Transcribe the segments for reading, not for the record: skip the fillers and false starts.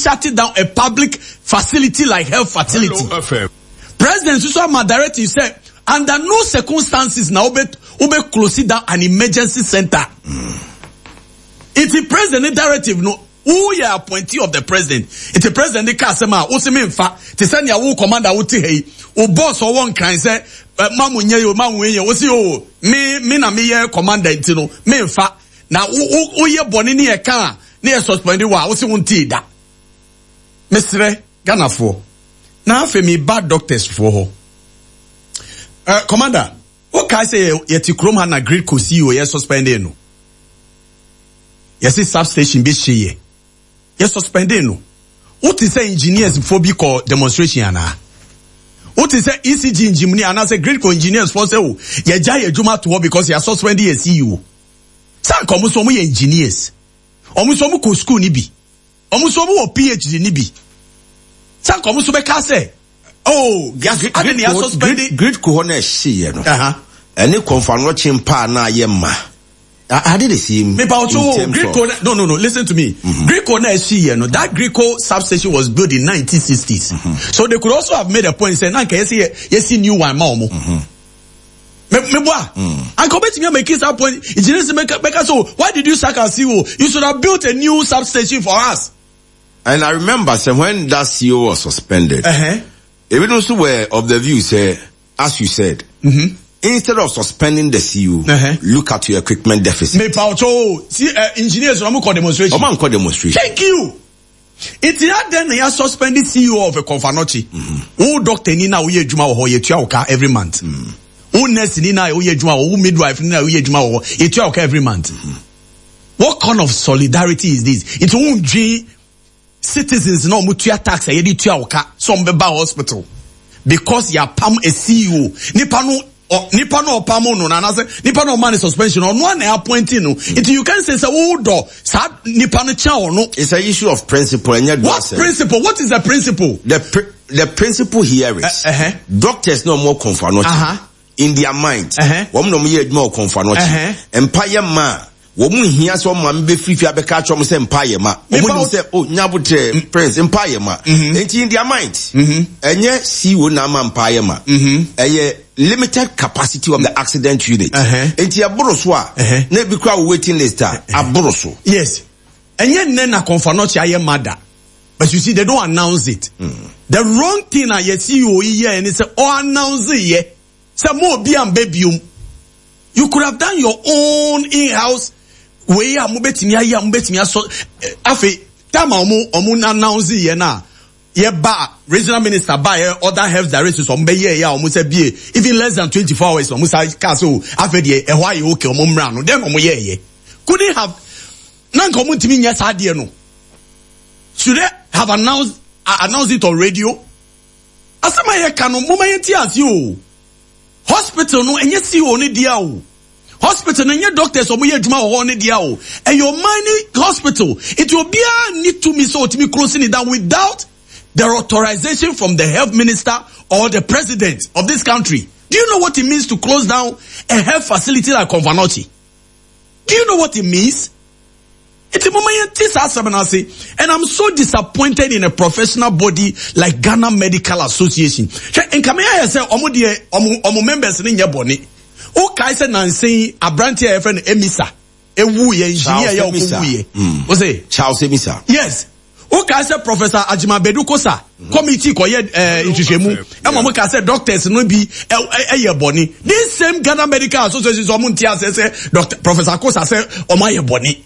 shut down a public facility like health facility? Hello FM. President nso ama directive sɛ under no circumstances na wobɛ wobɛ close down an emergency center. Nti president ne directive no woyɛ appointee of the president. Nti president ne ka asɛm a wose memfa te sɛ nea wo commander wote ha yi wo boss ɔwɔ nkran sɛ eh, ma mo nyɛ yi o ma mo nyɛ wose o me me na meyɛ commander nti no memfa na wo wo woyɛ bɔne ne yɛ ka a ne yɛ suspend wo a wose wontee da. Mesrɛ Ghanafoɔ na afei meba doctors foɔ hɔ. Uh, commander, wokae sɛ yɛte kurom ha na Gridco CEO yɛ suspended no. Yɛse substation bi hyeeɛ. Yɛ suspended no. Wote sɛ engineers foɔ bi kɔ demonstration anaa? Wote sɛ ECG engineer anaasɛ Gridco engineers foɔ sɛ o yɛgya yɛ adwuma to hɔ because yɛ suspend yɛ CEO. Sɛ anka wɔn nso wɔn yɛ engineers. Wɔn nso wɔn kɔ school ni bi. Wɔn nso wɔn wɔ PhD ni bi. Sɛ anka wɔn nso bɛka sɛ oh yas ade ne yɛ suspend. Gridco hɔ na ɛhyeeɛ no. Ɛne kɔnfanɔkye mpaa na ayɛ ma. Are they the same? Me pa ocho Gridco no no no listen to me. Mm-hmm. Gridco na ɛhyeeɛ no that Gridco substation was built in 1960s. Mm-hmm. So they could also have made a point say na nka yɛsi yɛsi new one ma wɔn. Mm-hmm. Me me boa. Anka obetumi amake that point. Engineers bɛka bɛka so why did you sack our CEO? You should have built a new substation for us. And I remember say when that CEO was suspended, uh-huh. even also were of the view say as you said, mm-hmm. instead of suspending the CEO, uh-huh. look at your equipment deficit. Me paucho, see engineers no call demonstration. Omo call demonstration. Thank you. Nti adɛn na yɛ suspend CEO of Komfo Anokye? Wo doctor ni na woyɛ adwuma wɔ hɔ yɛtua wo ka every month. Wo nurse ni na woyɛ adwuma wɔ hɔ, wo midwife ni na woyɛ adwuma wɔ hɔ yɛtua wo ka every month. What kind of solidarity is this? Nti wo ndwen citizens na wɔn tua tax a yɛde tua wo ka sɛ wɔn bɛba hospital because yɛapam a CEO nipa no nipa no ɔpam no na anaasɛ nipa no ɔma ne suspension ɔno a na appointing no nti you can say sɛ wo dɔ saa nipa no kyɛn ɔno. It's an issue of principle ɛnyɛ dɔ What principle? What is the principle? The pr the principle here is uh, uh-huh. doctors no more Komfo Anokye uh-huh. in their mind wɔn uh-huh. na wɔn yɛ adwuma wɔ Komfo Anokye uh-huh. mpa yɛ mmaa. Wɔn nhia sɛ wɔn maame bɛfiri fie abɛka akyerɛ wɔn sɛ mpa yɛ ma. Wɔn nim sɛ oh nyabotrɛ mm. prince mpa yɛ ma. Mm-hmm. Nti in their mind mm-hmm. ɛnyɛ CEO na ama mpa yɛ ma. Mm-hmm. Ɛyɛ limited capacity of the accident unit. Uh-huh. Nti ɛboro so a uh-huh. na ebi kura wɔ waiting list a aboro so. Yes. Ɛnyɛ nnɛ na Komfo Anokye ayɛ ma da. But you see they don't announce it. Mm. The wrong thing a yɛ CEO yi yɛ ne sɛ ɔ announce yɛ. Sɛ mo obi amba biom. You could have done your own in-house wei a mobɛtumi ayɛ a mobɛtumi asɔ afei time a ɔmo ɔmo announce yɛ no a yɛba regional minister ba yɛ other health directors ɔmo bɛyɛ yɛ a ɔmo sɛ bie even less than 24 hours ɔmo sa kaa sɛ o afei deɛ ɛhɔ ayɛ okay ɔmo mmra no then ɔmo yɛ yɛ couldn't have na nka ɔmo ntumi nyɛ saa deɛ no should they have announced announced it on radio Asɛm a yɛka no momma yɛnte aseɛ o. Hospital no ɛnyɛ CEO no dea o. Hospital no ɛnyɛ doctors a wɔyɛ adwuma wɔ hɔ no dea o. Ɛyɛ ɔman no hospital. Nti obiara nni tumi sɛ ɔtumi close ne down without the authorization from the health minister or the president of this country. Do you know what it means to close down a health facility like Komfo Anokye? Do you know what it means? Nti moma yɛnte saa asɛm no ase. And I'm so disappointed in a professional body like Ghana Medical Association. Hwɛ, nka me ayɛ sɛ ɔmo deɛ ɔmo ɔmo members no nyɛ bɔne. Wokae sɛ nansa yi aberanteɛ a yɛfrɛ no Emisa ewu yɛ engineer yɛ ɔkɔ wu yɛ. Wo se? Charles Emisa. Yes. Wokae sɛ Professor Agyemang Badu Kosa committee kɔyɛ eh, nhwehwɛmu ɛma ɔmo kaa sɛ doctors no bi ɛyɛ bɔne. This same Ghana Medical Association sɛ ɔmo nte aseɛ sɛ Doctor Professor Kosa sɛ ɔmo ayɛ bɔne.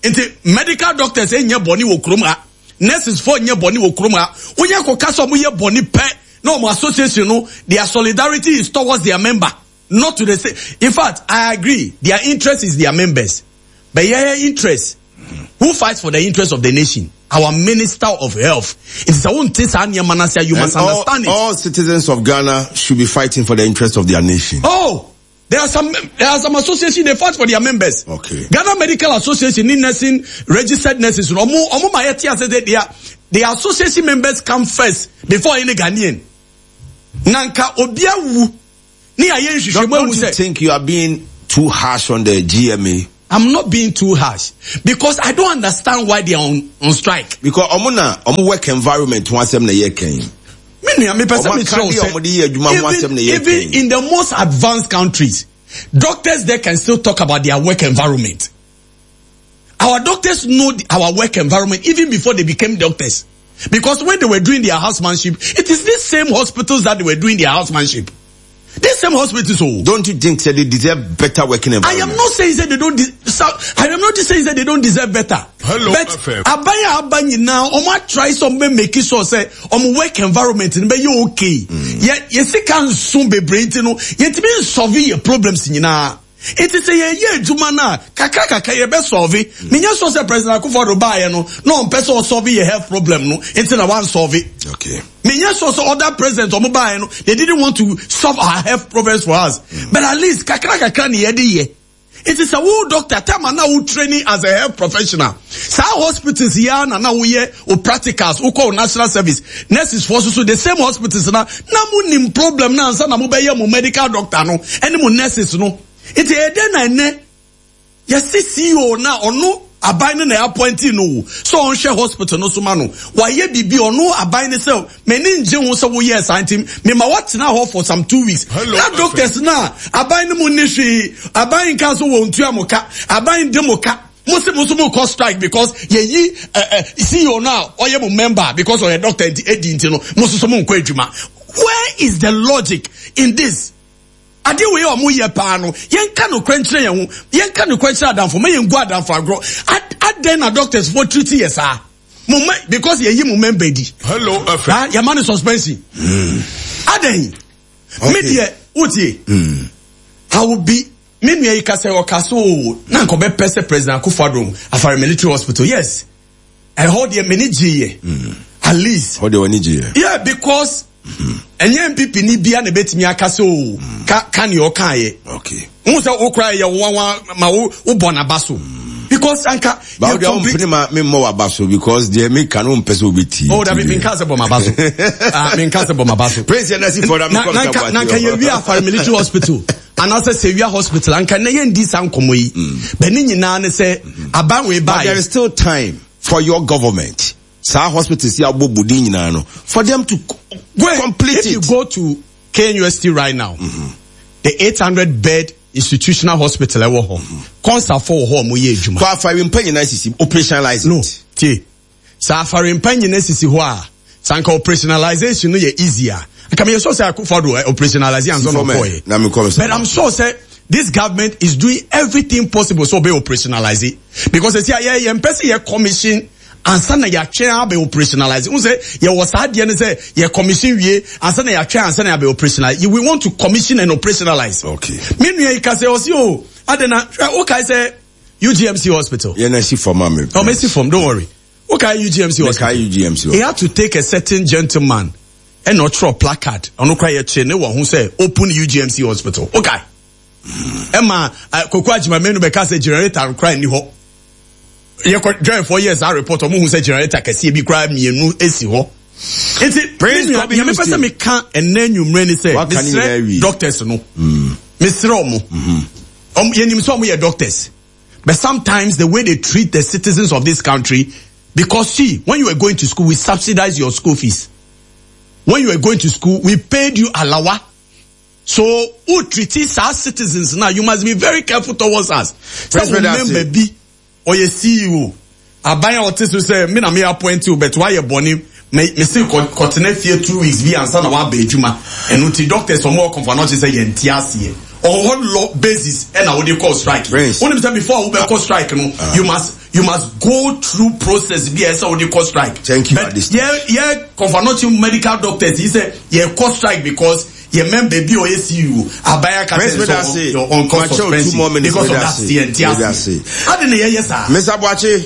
Nti medical doctors nyɛ bɔne wɔ kurom ha, nurses foɔ nyɛ bɔne wɔ kurom ha. Woyɛ kɔka sɛ ɔmo yɛ bɔne pɛ na ɔmo association no their solidarity is towards their member not to the state. In fact, I agree their interest is their members. But yɛyɛ interest who fights for the interest of the nation? Our minister of health. Nti sɛ wonte saa nneɛma no ase a, you must And all, understand it. all citizens of Ghana should be fighting for the interest of their nation. Oh, there are some there are some association they fight for their members. Okay. Ghana Medical Association ni nursing registered nurses no ɔmo ɔmo ma yɛte ase sɛ their their association members come first before any Ghanaian. Na nka obi awu ne ayɛ nhwehwɛmu Don't ahu you sɛ think you are being too harsh on the GMA? I'm not being too harsh because I don't understand why they are on, on strike. Because ɔmo na ɔmo work environment ho asɛm na yɛ kan. Me nua mepɛ sɛ mekyerɛ wo sɛ even even in the most advanced countries doctors there can still talk about their work environment. Our doctors know our work environment even before they became doctors. Because when they were doing their housemanship, it is these same hospitals that they were doing their housemanship. These same hospitals. Oh. Don't you think that they deserve better working environment? I am not saying that they don't. I am not saying that they don't deserve better. Hello, but FM. Aban a aba nyinaa, ɔmo atry sɛ ɔmo bɛ make sure sɛ ɔmo work environment no bɛyɛ okay. Yɛ yɛ sika nso bebree nti no, yɛntumi nsolve yɛ problems nyinaa. Nti sɛ yɛyɛ adwuma no a, kakra kakra yɛbɛ solve. Menyɛ sure sɛ President Akufo-Addo baeɛ no, na ɔmpɛ sɛ ɔsolve yɛ health problem no, nti na wansolve. Okay. Menyɛ sure sɛ other presidents ɔmo baeɛ no, they didn't want to solve our health problems for us. But at least kakra kakra na yɛde yɛ. Nti sɛ wo doctor, time a na wo training as a health professional, saa hospitals yi ara na na woyɛ wo practicals, wokɔ wo national service, nurses foɔ nso so the same hospitals na na mo nim problem no ansa na mobɛyɛ mo medical doctor no ɛne mo nurses no. Nti ɛyɛ dɛn na ɛnɛ yɛse CEO no a ɔno aban no na appointee no o sɛ ɔnhwɛ hospital no so ma no, wayɛ biribi ɔno aban no sɛ m'ani ngye ho sɛ woyɛɛ saa nti mema woatena hɔ for some 2 weeks. Hello, Na doctors no a aban no mu nni hwee, aban nka so wɔn ntua mo ka, aban de mo ka, mo se mo nso mo kɔ strike because yɛyi CEO no a ɔyɛ mo member because ɔyɛ doctor nti edi nti no mo nso so mo nkɔ adwuma. Where is the logic in this? Adeɛ wei a wɔn yɛ paa no, yɛnka nokorɛ nkyerɛ yɛn ho, yɛnka nokorɛ nkyerɛ adamfo, ma yɛn gu adamfo agorɔ. Adɛn na doctors foɔ treat yɛ saa? Mo ma because yɛyi mo member di. Hello FM. Ha yɛma no suspension. Adɛn? Me deɛ wotie. I will be me nua yi ka sɛ ɔka so o na nka ɔbɛpɛ sɛ President Akufo-Addo Afari Military Hospital. Yes. Ɛhɔ deɛ m'ani gyeeɛ. At least. Hɔ deɛ w'ani gyeeɛ. Yeah, because ɛnyɛ NPP ni bia na ebetumi aka sɛ o ka ka nea ɔkaeɛ. Okay. N sɛ wo kora yɛ nwanwa ma wo wo bɔ n'aba so. Because anka. Ba wo deɛ wo mpene ma me mmɔ w'aba so because deɛ me ka no mpɛ sɛ obi tie. Oh dabi mi nka sɛ bɔ m'aba so. Ah mi nka sɛ bɔ m'aba so. Prince yɛn nasi fɔ na mi kɔ mi sa Na nka yɛ wi Afari Military Hospital anaasɛ Sewia Hospital anka na yɛn di saa nkɔmɔ yi. Bɛ ne nyinaa ne sɛ aban wei But there baa is still time for your government. Saa hospitals yi abɔ budin nyinaa no for them to complete if it. you go to KNUST right now, the 800 bed institutional hospital ɛwɔ hɔ. Kɔnsafo wɔ hɔ a wɔyɛ adwuma. Kɔ Afari mpa nyinaa sisi operationalize No, it. tie. Sɛ Afari mpa nyinaa sisi hɔ a, sɛ anka operationalization no yɛ easy a, anka meyɛ sure sɛ Akufo-Addo operationalize ansa na Sifɔ mɛ, ɔkɔɔyɛ. na me kɔ But I'm sure sɛ this government is doing everything possible so ɔbɛ operationalize it. Because ɛsi a yɛ yɛn mpɛ sɛ yɛ commission ansa na yɛatwɛn abɛ operationalize. N sɛ yɛwɔ saa adeɛ no sɛ yɛ commission wie ansa na yɛatwɛn ansa na yɛabɛ operationalize. We want to commission and operationalize. Okay. Me nua yi ka sɛ ɔsi o ade na hwɛ wokae sɛ UGMC hospital. Yɛn na si fam a me. Oh, mesi fam, don't worry. Wokae UGMC hospital. Mekae UGMC He had to take a certain gentleman ɛna ɔtwerɛ placard ɔno kora yɛkyerɛ ne wɔ ho sɛ open UGMC hospital. Okay. Ɛma Koko Agyemamenu bɛka sɛ generator kora nni hɔ. Yɛkɔ dwɛnfoɔ yɛ saa report ɔmo hu sɛ generator kɛseɛ bi koraa mmienu esi hɔ. Nti Prince me nua Kobe nea mepɛ Houston. sɛ meka ɛnɛ anwummerɛ ni sɛ Waka ne nyinaa mesrɛ awie. doctors no. Mesrɛ ɔmo. Ɔmo yɛnim sɛ ɔmo yɛ doctors. But sometimes the way they treat the citizens of this country, because see, when you were going to school, we subsidized your school fees. When you were going to school, we paid you alawa. So, who treat our citizens now? You must be very careful towards us. Sɛ Prince wo Medase. member bi, ɔyɛ CEO. Aban a ɔte so sɛ, me na me appoint you, but wayɛ bɔne. Me me se kɔ kɔtena fie 2 weeks bi ansa na waba adwuma. Ɛno nti doctors ɔmo wɔ Komfo Anokye sɛ yɛn ti aseɛ. On what law basis ɛna wode kɔ strike? Prince. Wonim sɛ before a wobɛkɔ strike no, you must go through process bi a ɛsɛ wode kɔ strike. Thank you, But Adis. yɛ yɛ Komfo Anokye medical doctors yi sɛ yɛ kɔ strike because yɛ member bi a ɔyɛ CEO aban aka Prince kyerɛ Medase, sɛ ɔnkɔ Makyɛw, 2 more suspension minutes, because of that Medase. yɛn ti Medase. aseɛ. Ade na yɛyɛ saa. Mr. Boakye,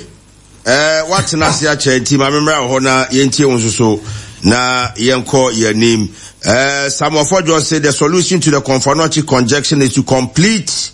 watena ase akyɛ nti ma memmra wɔ hɔ na yɛntie wo nso so na yɛnkɔ yɛn anim. Samuel Fodjo say the solution to the Komfo Anokye congestion is to complete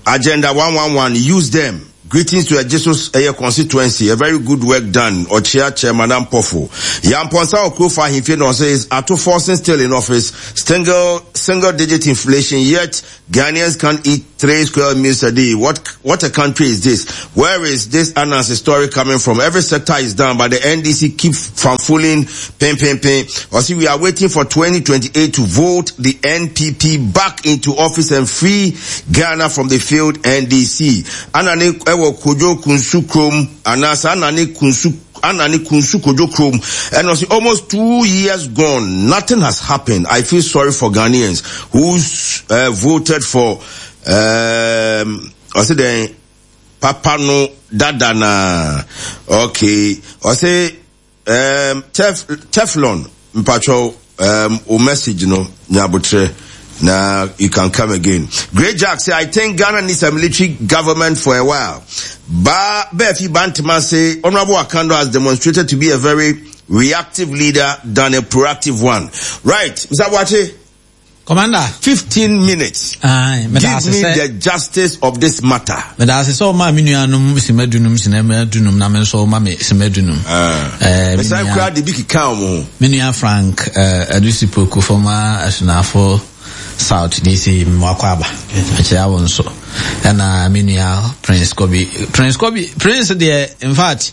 Agenda 111, use them. Greetings to Jesus Eye constituency. A very good work done. Ochia Chairman Ampofo. Yamponsa Okrofa Himfe no says Ato Forson still in office. Single digit inflation yet Ghanaians can't eat. 3 square meals a day. What what a country is this? Where is this Anansi story coming from? Every sector is down, but the NDC keep fanfooling, pin, pin, pin. Or see, we are waiting for 2028 to vote the NPP back into office and free Ghana from the failed NDC. Anane ewo Kojo Kunsu Krom, Anasa Anane Kunsu Anani Kunsu Kojo Krom. And also almost two years gone, nothing has happened. I feel sorry for Ghanaians who uh, voted for um I then Papa no dada na okay. I say um tef, Teflon mpacho um o message no nyabotre na you can come again. Great Jack say I think Ghana needs a military government for a while. Ba Befi Bantama say Honorable Akando has demonstrated to be a very reactive leader than a proactive one. Right, Mr. Boakye. Commander. 15 minutes. Aye, Give me the justice of this matter. Meda ase sɛ ɔmaa me nuanom sima dunum sinama dunum na me nso ɔma me sima dunum. Ah. Eh, Mesan kura de bi keka wɔn ho. Me nua Frank eh, Adusi Poku former Asunafo South DC Mmoakɔ aba. Mekyerɛ wo nso. Ɛna me nua Prince Kobi. Prince Kobi, Prince deɛ in fact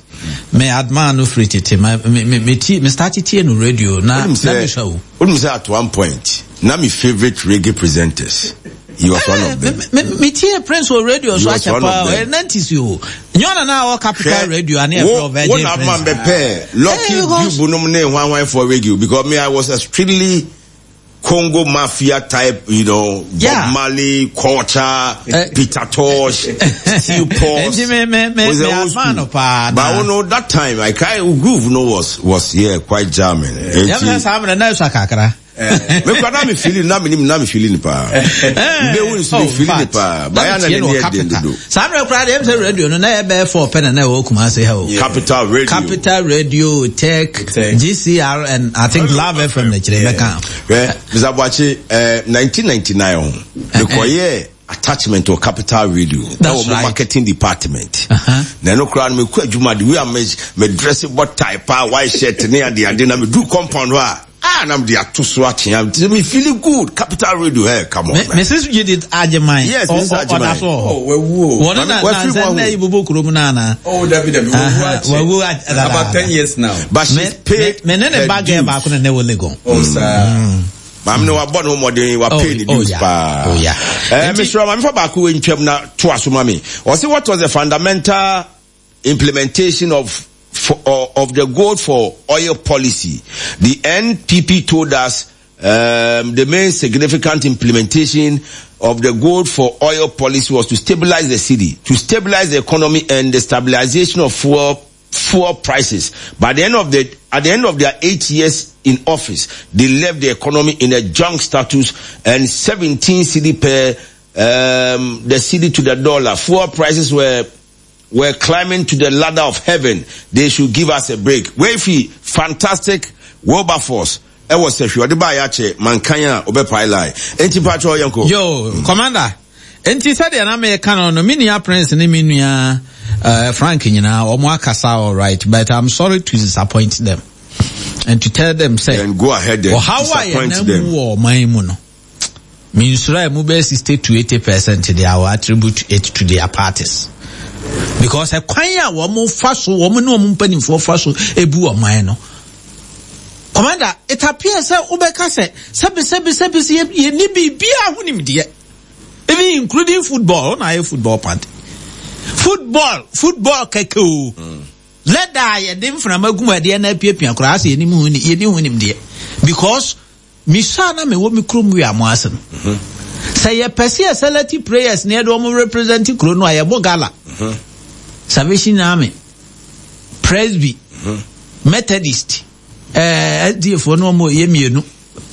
me admire no firi tete. Me me me ti me start tie no radio na na me sua o. Wonim sɛ at one point na me favourite reggae presenters he was one of them. Me me tie Prince wɔ radio so akyɛ paa ɔyɛ nineties o. Nyɛ ɔna na ɔwɔ Capital Radio ane ɛfrɛ Virgin Prince. Wo na ama mbɛ pɛ Lucky Dube nom ne hwan hwan for radio because me I was a strictly Congo mafia type, you know, Bob yeah. Marley, culture, uh, Peter Tosh, Steel Pulse. Me, me, me, was me, old school. But I know that time, I kind of groove no was was yeah quite jamming. Yeah, me kwa na me feeling na me na me feeling pa. Me who is me feeling pa. Ba ya na ne ne den do. Saa mmerɛ koraa deɛ ɛm radio no na yɛ bɛyɛ fɔ pɛ na na ɛwɔ Kumasi ha o. Capital Radio. Capital Radio, Tech, GCR and I think Love FM na kyerɛ mɛka. Hwɛ Mr. Boakye eh, 1999 ho mekɔyɛɛ attachment wɔ Capital Radio ɛwɔ mo marketing department. Na ɛno koraa no mekɔ adwuma de wei a me dress bɔ tie paa white shirt ne ade ade na meduru compound hɔ a Ah, na mede ato so akyea nti me feeling good capital radio hey come on man. Mrs. Judith Agyeman. Yes, Mrs. Agyeman. Ɔda so wɔ hɔ. Oh, wawu o. Wɔn na na sɛ na yi bobo kurom na ana. Oh, dabi dabi wawu akyɛ. Wawu akyɛ. About ten years now. But she's paid. Me ne ne ba girl baako na na ɛwɔ Legon. Oh, sir. Maame no wabɔ ne ho mmɔden wa pay ne dues paa. Oh yeah. Eh, mesrɛ maame fa baako wɔ ntwam na to aso ma me. Ɔse what was the fundamental implementation of for, uh, of the gold for oil policy. The NPP told us um, the main significant implementation of the gold for oil policy was to stabilize the cedi, to stabilize the economy and the stabilization of fuel fuel prices. By the end of the at the end of their eight years in office, they left the economy in a junk status and 17 cedi per um, the cedi to the dollar. Fuel prices were were climbing to the ladder of heaven. They should give us a break. Wei fantastic Wilberforce ɛwɔ sɛhwɛ ɔde baa yɛakyɛ mankan a ɔbɛpae line. Enti mpakyɛ yɛnkɔ. Yo, Commander. Enti sɛdeɛ na meka no no, me nua Prince ne me nua uh, Frank nyinaa wɔn akasa all right, but I'm sorry to disappoint them and to tell them say, then go ahead and ɔhaw a disappoint yɛnam them. mu wɔ ɔman mu no, mensuro a ɛmu bɛyɛ 60 to 80 percent deɛ I will attribute it to their parties because ɛkwan a wɔn fa so wɔn ne wɔn mpanimfoɔ fa so ebu ɔman no commander it appears sɛ wobɛka sɛ sɛbi sɛbi sɛbi sɛ yɛni biribiara ho nimdeɛ even including football ɔna ayɛ football party football football kɛkɛ o. Mm. Leather a yɛde mframa gu mu ɛdeɛ na apiapia koraa sɛ yɛnim ho yɛni ho nimdeɛ because Mesua a na mewɔ me kurom Wiamo ase no, sɛ yɛpɛ sɛ yɛ select prayers na yɛde wɔn represent kuro no a, yɛbɔ gala. Salvation Army, Presby, Methodist, eh, SDA foɔ no wɔn yɛ mmienu,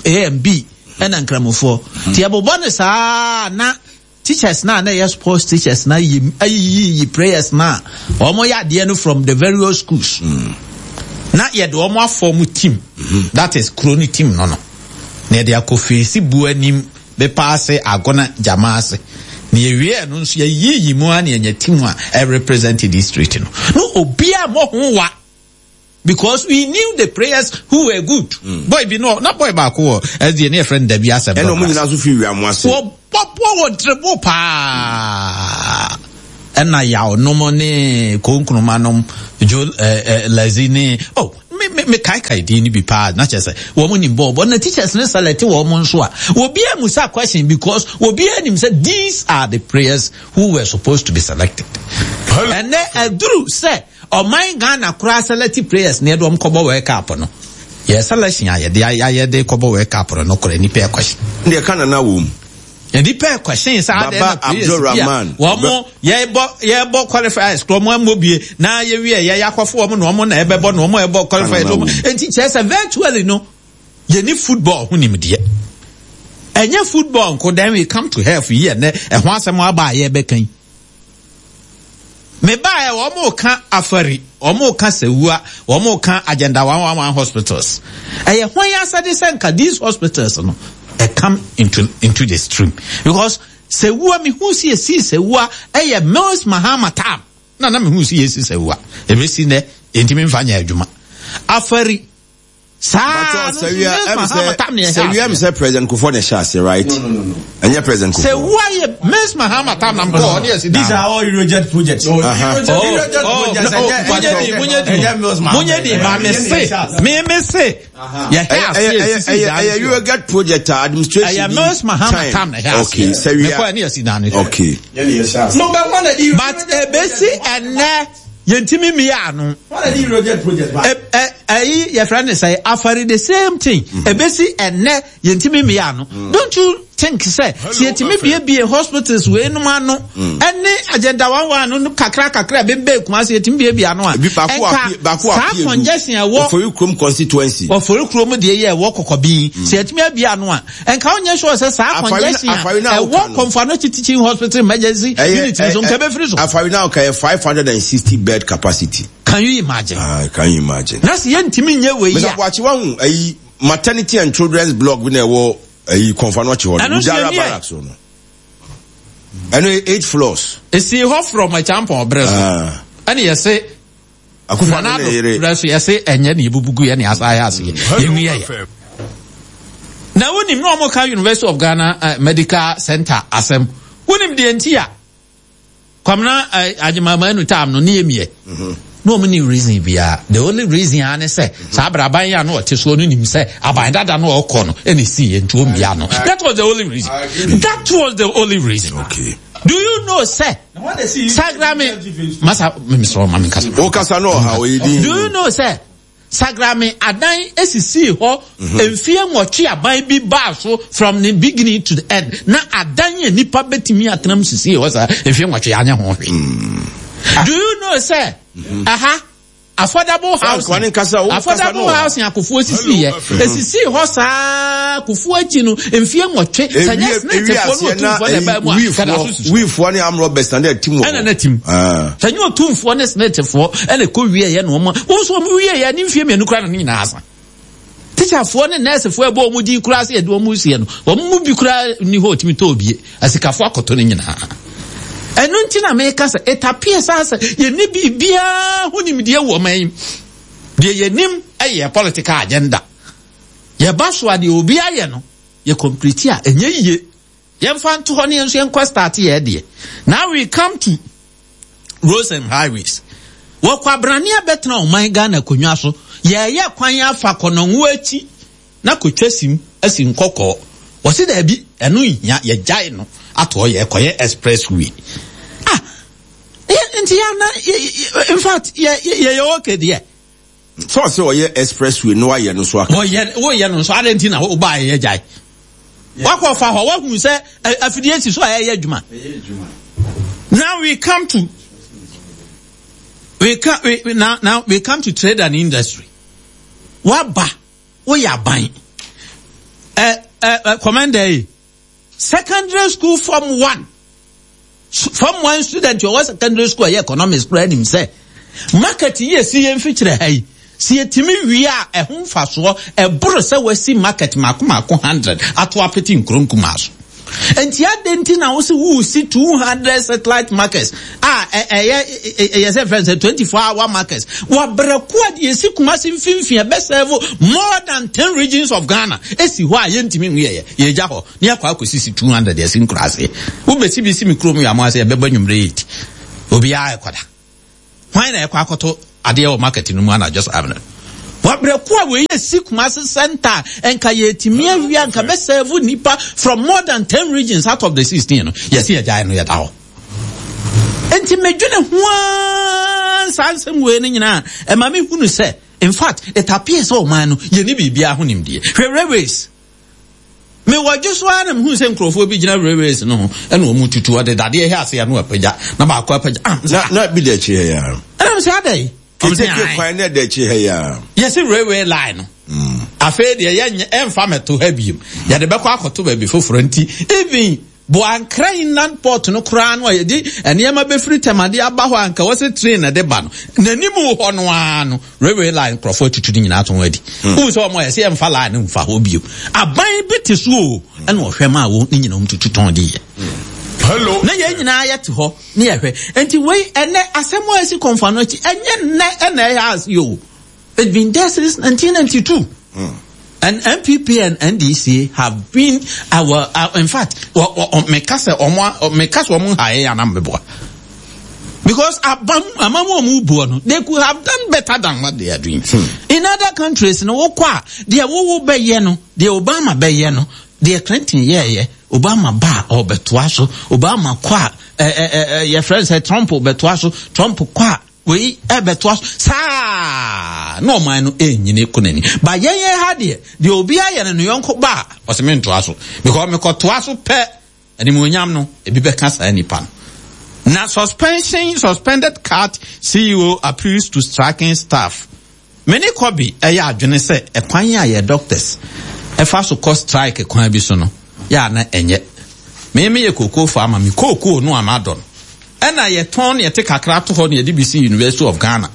A and B, ɛna Nkramofoɔ. Nti yɛbobɔ no saa na Teachers no a na ɛyɛ sports teachers no ayi ayiyiyi prayers no a wɔn yɛ adeɛ no from the various schools. Mm. Na yɛde wɔn afɔm team. Mm -hmm. That is kuro no team no no. Na yɛde akɔ feesi bu anim bepɔ ase agona gyama ase. Na yɛwie ɛno nso yɛyiyi mu a na yɛnya team a ɛrepresent district no. No obiara mmɔ ho wa. Because we knew the prayers who were good. Mm. Boy bi no na boy baako wɔ SDA ne yɛfrɛ no Dabi Asɛm. Ɛna ɔmo nyinaa nso fi wia mo ase. Wɔ bɔ wɔ dribble paa. Ɛna yaw nom ne konkroma nom jo lazi ne oh me me me kaekae din no bi paa na kyerɛ sɛ wɔn nim bɔɔl bɔ na teachers ne select wɔn nso a obiara mu sa question because obiara nim sɛ these are the players who were supposed to be selected. Ɛnɛ aduru sɛ ɔman Ghana koraa select players na yɛde wɔn kɔbɔ World Cup no yɛ selection a yɛde ayɛ de kɔbɔ World Cup no no koraa nipa ɛkɔhyɛ. Deɛ Canada wɔ mu. Nnipa ɛkwɛhyɛn sɛ adɛn na players bi a wɔn yɛbɔ yɛbɔ qualifiers kura wɔn ammɔ bie na yɛwie yɛ yɛakɔfo wɔn na wɔn na ɛbɛbɔ na wɔn ɛbɔ qualifiers wɔn nti kyerɛ sɛ virtually no yɛni football ho nimdeɛ ɛnyɛ football nko then we come to health yi ɛnɛ ɛho asɛm aba a yɛbɛka yi. Mebaeɛ wɔn reka Afari, wɔn reka Sewua, wɔn reka Agenda 111 hospitals. Ɛyɛ hwan asɛde sɛ nka these hospitals no ɛ come into into the stream because Sewua mehu si esi Sewua ɛyɛ Mills Mahama time na na mehu si esi Sewua ebesi nɛ yɛntumi nfa nyɛ adwuma. Afari Saa no nso Mills Mahama tam na ɛhyɛ aseɛ. Sɛ wia mi sɛ President Kufuor na ɛhyɛ aseɛ right? No no no no. Ɛnyɛ President Kufuor. Sɛ wia yɛ Mills Mahama tam na nkɔ ɔne ɛsi These are all Eurojet projects. Oh, Eurojet projects. Munye di munye di munye di ma mi se mi mi se yɛ hɛ aseɛ sisi dan. Ɛyɛ Eurojet project a administration Ɛyɛ Mills Mahama tam na ɛhyɛ aseɛ. Okay sɛ wia. Mekɔ ɛne ɛsi dan. Okay. No, but one of the But ebesi ɛnɛ. Yɛntumi mmea ano. Ɛyi yɛfrɛ ne sɛ afari the same thing. Ebesi ɛnɛ yɛntumi mmea ano. Don't you think sɛ sɛ yɛtumi biebie hospitals wei nom ano ɛne agenda 11 no kakra kakra bebe Kumasi yɛtumi biebie ano a. Ɛnka saa congestion ɛwɔ Ofori kurom constituency. Ofori kurom deɛ yɛ ɛwɔ kɔkɔbin. Sɛ yɛtumi abie ano a nka wonyɛ sure sɛ saa congestion a ɛwɔ Komfo Anokye Teaching Hospital emergency unit no so nka ɛbɛfiri so. Afari na ɔka yɛ 560 bed capacity. Can you imagine? Ah, can you imagine? Na sɛ yɛntumi nyɛ wei a. Mr. Boakye wahu ayi maternity and children's block bi na ɛwɔ ayi Komfo Anokye hɔ no. Wudara barracks hɔ no. Ɛno yɛ 8 floors. Esi hɔ from Acheampong brɛ so. Ɛne yɛse Akufo Addo ne yere. Nana so yɛse ɛnyɛ ne yɛbubu gu yɛ ne asa ayɛ aseɛ yɛnwi yɛ. Na wonim na wɔn ka University of Ghana uh, Medical Center asɛm. Wonim deɛ nti a Kwamina uh, Agyemamanu tam no ne yɛ miɛ. Na wɔn ni reason biara. The only reason ara ne sɛ saa abere aban yi a na ɔte soɔ no nim sɛ aban dada no ɔkɔ no ɛna esi yɛ nti wɔn mia no. That was the only reason. That was the only reason. Okay. Do you know sɛ Sagrame masa mesrɛ ma menkasa. Wo kasa no ɔha ɔyɛ din. Do you know sɛ Sagrame adan esisii hɔ mhm. mfie nwɔtwe aban bi baa so from the beginning to the end na adan yɛ nipa betumi atena mu sisii hɔ saa mfie nwɔtwe anyɛ ho hwee. Mm. Do you know sɛ mhm. aha Affordable housing affordable housing a Kufuor sisii yɛ esisii hɔ saa Kufuor akyi no mfie nwɔtwe sɛ nyɛ Smithfoɔ ne Otumfoɔ na ɛbaa mu a kɛda so sisi. Wiifoɔ ne armed robbers na na ɛtim wɔ hɔ. Ɛna na ɛtim. Sɛ nyɛ Otumfoɔ ne Smithfoɔ ɛna ɛkɔ wie yɛ na wɔn wɔn nso wɔn wie yɛ ne mfie mmienu koraa na ne nyinaa asa. Tikyafoɔ ne nɛɛsefoɔ ɛbɔ wɔn din koraa sɛ yɛde wɔn resie no, wɔn mu bi koraa nni hɔ ɔtumi tɔ obie. Asikafoɔ akɔtɔ no nyinaa. Ɛno nti na meka sɛ it appears sɛ sɛ yɛnni biribiara ho nimdeɛ wɔ ɔman yi mu. Deɛ yɛnim yɛ political agenda. Yɛba so a deɛ obi ayɛ no, yɛ complete a ɛnyɛ yie. Yɛmfa nto hɔ ne yɛn nso yɛnkɔ start yɛ deɛ. Now we come to roads and highways. Wɔ kwabrane abɛtena ɔman Ghana akonnwa so, yɛɛyɛ kwan afa kɔnɔngo akyi na kotwa sim asi nkɔkɔɔ. Wɔse daabi, ɛno nhia, yɛgyae no ato hɔ yɛɛkɔyɛ express way. Ah, nti yɛ na, in fact, yɛ yɛ okay deɛ. Sɛ ɔsɛ ɔyɛ expressway no ayɛ no so aka. Wɔyɛ woyɛ no nso adɛn nti na wobaa yɛ gyae. Wakɔ fa hɔ wahu sɛ afidie si so a ɛyɛ adwuma. Now we come to we come we, now now we come to trade and industry. Waba woyɛ aban. Ɛ ɛ commander yi Secondary school form one form one student ɔwɔ secondary school ɛyɛ economics koraa nim sɛ market yi esi yɛn mfikyerɛ ha yi si yɛtumi wie a ɛho mfasoɔ ɛboro sɛ wasi market mako mako hundred ato apete nkuro nkumaa so. Nti adɛn nti na wose woresi 200 satellite markets a ɛyɛ ɛyɛ sɛ fɛn sɛ 24 hour markets wɔ berɛ ko a deɛ ɛsi Kumasi mfimfini ɛbɛsɛvo more than 10 regions of Ghana ɛsi hɔ a yɛntumi nhu yɛyɛ yɛgya hɔ ne yɛakɔ akɔsisi 200 ɛsi nkuraase. Wobɛsi bi si me kurom yɛ ase ɛbɛbɔ anwummerɛ 8 obiara ɛkɔda. Hwan na ɛkɔ akɔto adeɛ wɔ market no mu anadwo saa mmerɛ no? Wabrɛ ko a wei yɛ si Kumasi center a nka yɛtumi awia nka bɛ serve nipa from more than 10 regions out of the 16 no yɛsi yɛgyae no yɛda hɔ. Nti medwene ho ara saa nsɛm wei no nyinaa ɛma me hunu sɛ in fact it appears sɛ ɔman no yɛni biribiara ho nimdeɛ. Hwɛ railways. Mewɔ dwo so ara na mehuu sɛ nkurɔfoɔ bi gyina railways no ho ɛna wɔn tutu ɔde dadeɛ hɛ ase ano apagya na baako apagya. Ah, na na bi da akyire ha yi ara. Ɛna mo sɛ adɛ. Keteke kwan na ɛda akyire ha yi ara. Yɛsi railway line no. Afei deɛ yɛnyɛ ɛnfa mɛto ha biem. Yɛde bɛkɔ akɔto baabi foforɔ nti even Boankra inland port no koraa no a yɛde nneɛma bɛfiri Tɛmade aba hɔ a anka wɔsɛ train na ɛde ba no, n'anim hɔ no ara no, railway line nkurɔfoɔ atutu ne nyinaa tɔn adi. Wohu sɛ wɔn a yɛsɛ yɛmfa line no mfa hɔ bio. Aban bi te so o, ɛna ɔhwɛ maa wɔn ne nyinaa wɔn tutu tɔn de yɛ. Hello. Na yɛn nyinaa yɛte hɔ ne yɛhwɛ. Nti wei ɛnɛ asɛm a ɛsi kɔnfa no akyi ɛnyɛ nnɛ ɛna ɛyɛ ase o. It's been there since 1992. And NPP and NDC have been our, uh, in fact, meka sɛ ɔmo meka sɛ ɔmo ha yɛ anam bɛboa. Because abam amamu ɔmo buo no, they could have done better than what they are doing. In other countries, no wokɔ a, deɛ wowo bɛyɛ no, deɛ Obama bɛyɛ no, deɛ Clinton yɛɛyɛ, Obama ba a ɔbɛtoa so, Obama kɔ a, ɛ ɛ ɛ yɛfrɛ no sɛ Trump bɛtoa so, Trump kɔ a Wei ɛbɛtoa so saa na ɔman no ɛnyini kɔ n'anim. Ba yɛn yɛn ha deɛ, deɛ obi ayɛ no ne yɔnko ba a, ɔsɛ mentoa so. Because mekɔtoa so pɛ, animuonyam no, ebi bɛka saa nipa no. Na suspension, suspended cat CEO appeals to striking staff. Me ne Kobe yɛ adwene sɛ ɛkwan a yɛ doctors fa so kɔ strike kwan bi so no yɛ a na ɛnyɛ. Me meyɛ kookoo farmer, me kookoo no a madɔ no ɛna yɛtɔn na yɛte kakra to hɔ na yɛde bi si University of Ghana.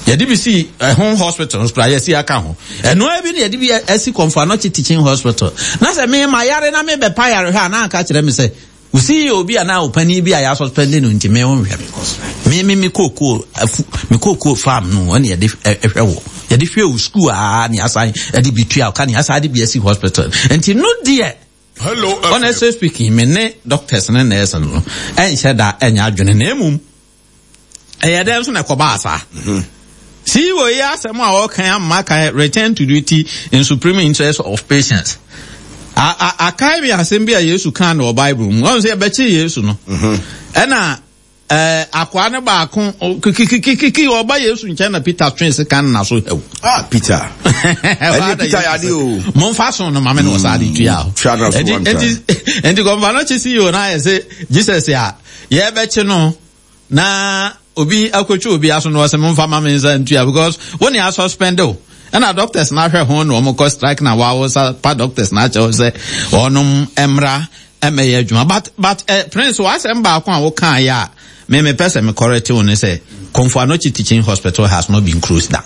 Yɛde bi si ɛho hospital nso koraa yɛsi aka ho. Ɛno ara bi na yɛde bi asi Komfo Anokye Teaching Hospital. Na sɛ me ma yare na mebɛpa yarehwɛ a na anka kyerɛ me sɛ Wo CEO bi anaa wo panin bi a yɛasuspɛnde no nti me wo nhwɛ me. Me me me kookoo afu me kookoo farm no ɛna yɛde hwɛ wo. Yɛde hwɛ wo school a ne asan ɛde bi tua ka ne asan de bi asi hospital. Nti no deɛ Hello, honestly speaking me ne doctors ne nurse no ɛnhyɛ da ɛnyɛ adwene na emum Ɛyɛ dɛn nso na ɛkɔbaa saa? CEO yi asɛm a ɔka ama kan return to duty in supreme interest of patients. Akae me asɛm bi a Yesu kaa no wɔ Bible mu. Ɔn sɛ yɛbɛkye Yesu no. Ɛna akoa no baako kikikikiki ɔba Yesu nkyɛn na Peter twe sekan na so haw. Ah, Peter. Ɛne Peter yɛ ade o. Momfa so no ma me na ɔsaa de tua hɔ. Enti kɔmfa no kye CEO no ayɛ sɛ Jesus a yɛbɛkye no na obi akɔtwa obi aso na ɔsɛ momfa ma me nsa ntua because wo ne asuspend o ɛna doctors na ahwɛ ho na wɔn kɔ strike na wɔawo sa pa doctors na akyɛw sɛ wɔnom mmra mmɛyɛ adwuma but but eh, prince w'asɛm baako a wokaa yɛ a me mepɛ sɛ me correct wo ne sɛ Komfo Anokye Teaching Hospital has not been closed down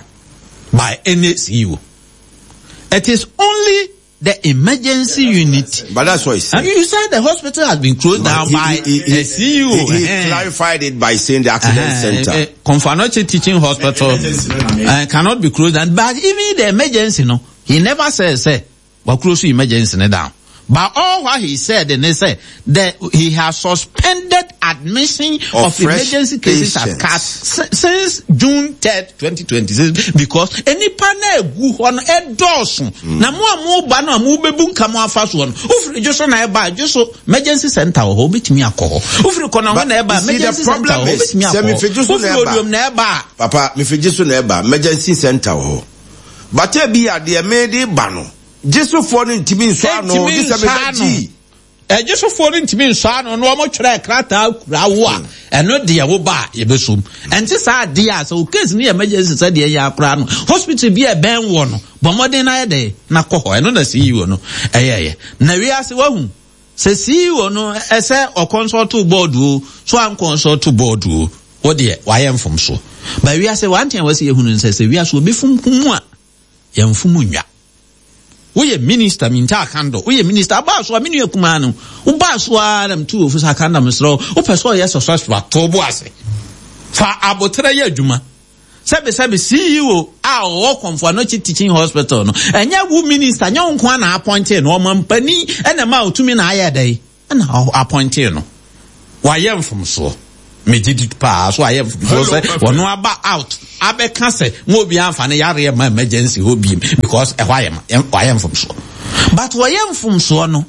by any CEO. It is only the emergency unit. But that's what he said. And you said the hospital has been closed down by a CEO. He clarified it by saying the accident center. Komfo Anokye Teaching Hospital cannot be closed down. But even the emergency, no, he never said, say, well, close emergency down. But all what he said, and he said that he has suspended admission of emergency cases at CAT since June 3rd, 2026, because any na egu hɔ no ɛdɔɔso. Na mo a mo ba no a mo bɛbu nka mo afa soɔ no, wofiri dwo so na ɛba dwo so emergency center wɔ hɔ, wobɛtumi akɔ hɔ. Wofiri kɔnɔ na ɛba emergency center wɔ hɔ, wobɛtumi akɔ hɔ. Wofiri oduom na ɛba a. Papa, mefiri dwo so na ɛba emergency center wɔ hɔ. But ebi adeɛ mede ba no, gyesofoɔ no ntumi nsɔ ano, gye sɛ mebɛgye. Agyesofoɔ no ntumi nsɔ ano na wɔtwerɛ krataa kura wo a, ɛno deɛ wo ba a yɛbɛsom. Ɛnte saa adeɛ a sɛ wo case no yɛ emergency sɛ deɛ yɛ akora no, hospital bi a ɛbɛn woɔ no, bɔ mmɔden na ayɛ dɛn na kɔ hɔ. Ɛno na CEO no ɛyɛɛyɛ. Na wiase wahu sɛ CEO no ɛsɛ ɔkɔnsɔlto board o, so ankɔnsɔlto board o, wo deɛ wayɛ mfomsoɔ. Ba wiase one thing a wɔsɛ yɛhunu no sɛ sɛ wiase obi fom hu a, yɛmfom nnwa. Woyɛ minister Minta Akandor, woyɛ minister abaa so a me nua kumaa no, wobaa so ara na metu wo fo sɛ Akandor mesrɛ wo, wopɛ sɛ ɔyɛ successful a, to wo bo ase. Fa aboterɛ yɛ adwuma. Sɛbesɛbe CEO a ɔwɔ Komfo Anokye Teaching Hospital no, ɛnyɛ wo minister, nyɛ wo nko ara na appointee no, ɔmampanin na ɛmaa wo tumi na ayɛ dɛn? Ɛna ɔ appointee no. Wayɛ mfomsoɔ. Megye di paa so ayɛ mfomsoɔ sɛ ɔno aba out abɛka sɛ mo obiara nfa ne yareɛ ma emergency hɔ biem because ɛhɔ ayɛ ma wayɛ mfomsoɔ. But wɔyɛ mfomsoɔ no,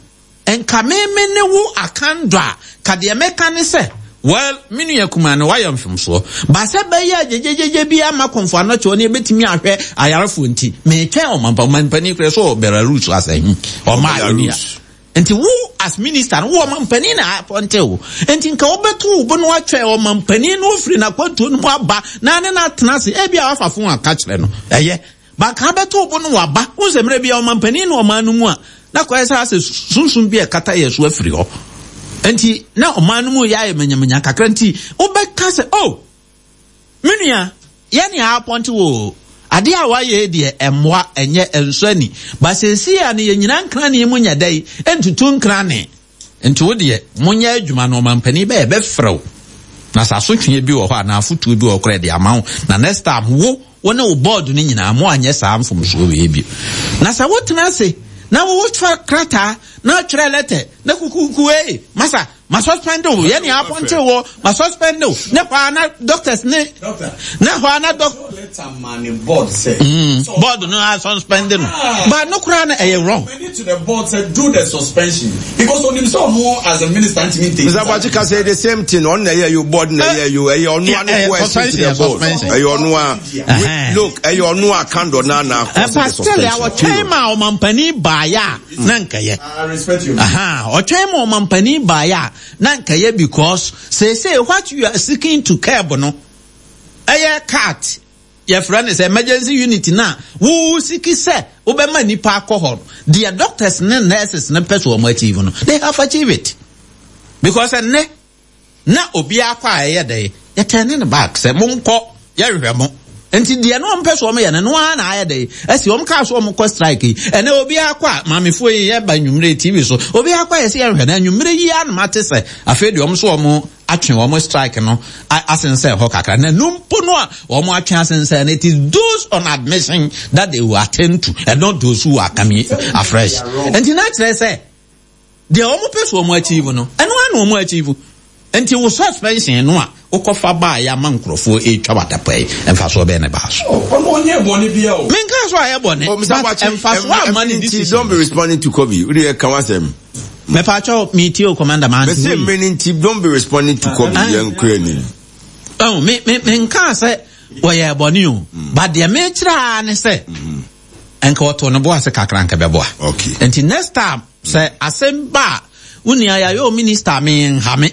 nka me me ne wo akandɔ a, ka deɛ mɛka ne sɛ, well, me nua kumaa no wayɛ mfomsoɔ. But sɛ bɛyɛ a gyegyegyegye bi ama Komfo Anokye hɔ ne yɛbɛtumi ahwɛ ayarefoɔ nti, metwɛn ɔmampa, ɔmampanin koraa sɛ ɔwɔ Belarus asɛ, ɔmaa yɛni a. Nti wo as minister no wo ɔmampanin na apɔnte wo. Nti nka wobɛto wo bo no atwɛn ɔmampanin no ofiri n'akwantuo no mu aba na ne no atena ase. Ebi a wafa fon aka kyerɛ no. Ɛyɛ. Ba nka abɛto wo bo no waba. Wohu sɛ mmerɛ bi a ɔmampanin no ɔman no mu a na kɔyɛ sɛ asɛ sunsum bi a ɛkata yɛ so afiri hɔ. Nti na ɔman no mu yɛ ayɛ manyamanya kakra nti wobɛka sɛ oh Me nua, yɛne apɔnte wo o. Adeɛ a wayɛ yi deɛ ɛmmoa, ɛnyɛ, ɛnsɔ ani. But seesei a no yɛnyina nkrane mu nyɛ dɛn ntutu nkrane. Nti wo deɛ, monyɛ adwuma no ɔmampanin bɛyɛ bɛfrɛ wo. Na sɛ asotweɛ bi wɔ hɔ anaa afotuo bi wɔ hɔ koraa yɛde ama wo. Na next time wo, wo ne wo board no nyinaa moanyɛ saa mfomsoɔ wei bio. Na sɛ wotena ase na wotwerɛ krataa na atwerɛ lɛtɛ na kukuuku ei, masa, Ma suspend wo, yɛ nea apɔnte wo, ma suspend wo. Ne hɔ a na doctors ne ne hɔ a na doc. Board sɛ. Mm, board no a suspend no. Ah. But no koraa no ɛyɛ wrong. To the board sɛ do the suspension because onim sɛ ɔno as a minister ntumi ntake. Mr. Abuakye ka sɛ the same thing ɔno na ɛyɛ yo board na ɛyɛ yo ɛyɛ ɔno a ne ko ɛsi to the board ɛyɛ ɔno a look ɛyɛ ɔno a kandɔ na na akɔ the suspension. Pastor ɔtwɛn ma ɔmampanin baayɛ a na nkɛyɛ. Ɔtwɛn ma ɔmampanin baeɛ a na nkɛyɛ because seesei what you are seeking to curb no ɛyɛ cat yɛfrɛ no sɛ emergency unit no a wo siki sɛ wobɛma nipa akɔ hɔ no deɛ doctors ne nurses no pɛ so wɔn achieve no they have achieved it because ɛnnɛ Na obiara kɔ a ɛyɛ dɛn? Yɛtɛne no back sɛ monkɔ, yɛnhwɛ mo. Nti deɛ na wɔmpɛ so wɔyɛ no, ɛno ara na ayɛ dɛn? Asi. Wɔn kaa so wɔn kɔ strike yi. Ɛnɛ obiara kɔ a, maamefoɔ yi yɛba anwummere TV so, obiara kɔ a yɛsɛ yɛnhwɛ no. Anwummere yi ara na mate sɛ afei deɛ wɔn nso wɔn atwe wɔn strike no asensɛn hɔ kakra. Na ɛno mpo no a wɔn atwe asensɛn no, it is those on admission that they will attend to and not those who are coming afresh. Nti na kyerɛ sɛ Deɛ wɔn pɛ so wɔn achieve no, ɛno ara na wɔn achieve. Nti wo suspension no a wokɔfa baeɛ ama nkurɔfoɔ retwa w'adapa yi, mfasoɔ bɛn na ɛbaa so? Oh, ɔno ɔnyɛɛ bɔne biara o. Menkaa sɛ ɔayɛ bɔne, Oh, Mr. but Boakye, mfasoɔ amma ne nti decision don't be no so. responding to Kobe. Wo deɛ ka w'asɛm. Mepaakyɛw, metie o, Commander, mante Mese hɔ yie. mmere no nti don't be responding to Kobe. Ah. Yɛn kura anim. Oh, me, me, menkaa sɛ wɔyɛɛ bɔne o, but deɛ mekyerɛ ara ne sɛ, nka ɔtoo ne bo ase kakra nka bɛboa. Okay. Nti next time sɛ asɛm ba a wo nua yɛayɛ o minister me nha me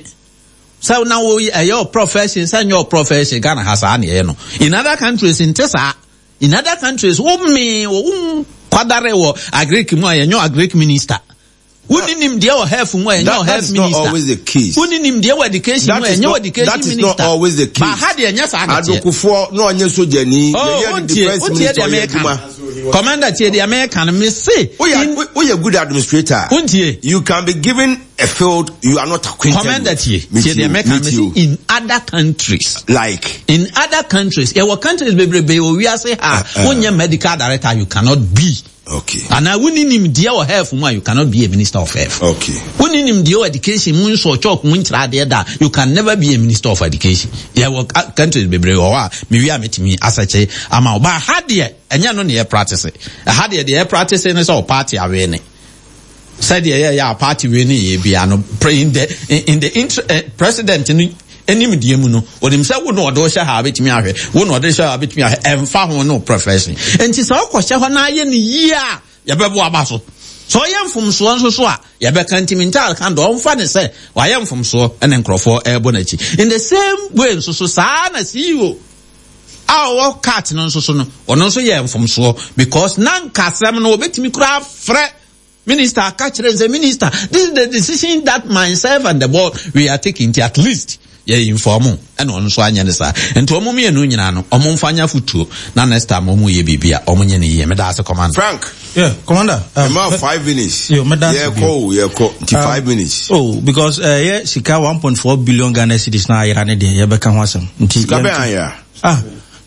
sɛ na wo ɛyɛ o profession sɛ nyɛ o profession Ghana ha saa na ɛyɛ no. In other countries nte saa. In other countries wo me wo kwadare wɔ agric mu a yɛnyɛ agric minister. Wonni nimdeɛ wɔ health mu a ɛnyɛ wɔ health minister. That is not always the case. Wonni nimdeɛ wɔ education mu a ɛnyɛ wɔ education That is minister. not always the case. Ba ha deɛ ɛnyɛ saa na ɛteɛ. Adokofoɔ na ɔnyɛ sogyani. Oh, Yɛyɛ no wontie, defense wontie minister deɛ ɔyɛ meka adwuma. no. Commander tie deɛ meka no. Me se. Woyɛ woyɛ good administrator. Wontie. You can be given a field you are not acquainted Commander with. tie. Tie deɛ meka no. Me se in other countries. Like. In other countries. Yɛwɔ countries bebrebe wɔ wiase ha. Wonyɛ medical director you cannot be. Okay. Anaa wonni nimdeɛ wɔ health mu a you cannot be a minister of health. Okay. Wonni nimdeɛ wɔ education mu nsɔ chalk mu nkyerɛ adeɛ da you can never be a minister of education. Yɛwɔ countries bebree wɔ hɔ a mewie a metumi asɛkye ama wo. Ba ha deɛ ɛnyɛ no na yɛ practice. Ɛha deɛ deɛ yɛ practice ne sɛ ɔparty awee ne. Sɛdeɛ yɛyɛ a party wei ne yɛ bia no in the in the inter, eh, president no anim deɛ mu no onim sɛ wo na ɔde wohyɛ ha abɛtumi ahwɛ wo na ɔde hyɛ ha abɛtumi ahwɛ ɛmfa ho no profession nti sɛ wokɔhyɛ hɔ na ayɛ no yie a yɛbɛbo aba so sɛ ɔyɛ mfomsoɔ nso so a yɛbɛka ntimi ntaare ka dɔ ɔmfa ne sɛ wayɛ mfomsoɔ ɛne nkurɔfoɔ ɛrebɔ n'akyi in the same way nso so saa na CEO a ɔwɔ cat no nso so no ɔno nso yɛ mfomsoɔ because na nkasɛm no wɔbɛtumi koraa frɛ Minister aka kyerɛ sɛ minister this is the decision that myself and the board we are taking nti at least. Yɛ inform wo ɛna ɔno nso anyɛ ne saa. Nti wɔn mmienu nyinaa no wɔn mfa nyɛ afotuo na next time wɔn yɛ biribi a wɔn nyɛ no yie. Meda ase Commander. Frank. Yeah, Commander. Ɛma 5 minutes. Yo, meda ase Yɛkɔ o, yɛkɔ. Nti 5 minutes. Oh, because yɛ sika 1.4 billion Ghana cedis na ayera ne deɛ yɛbɛka ho asɛm. Nti Sika bɛn ayera? Ah,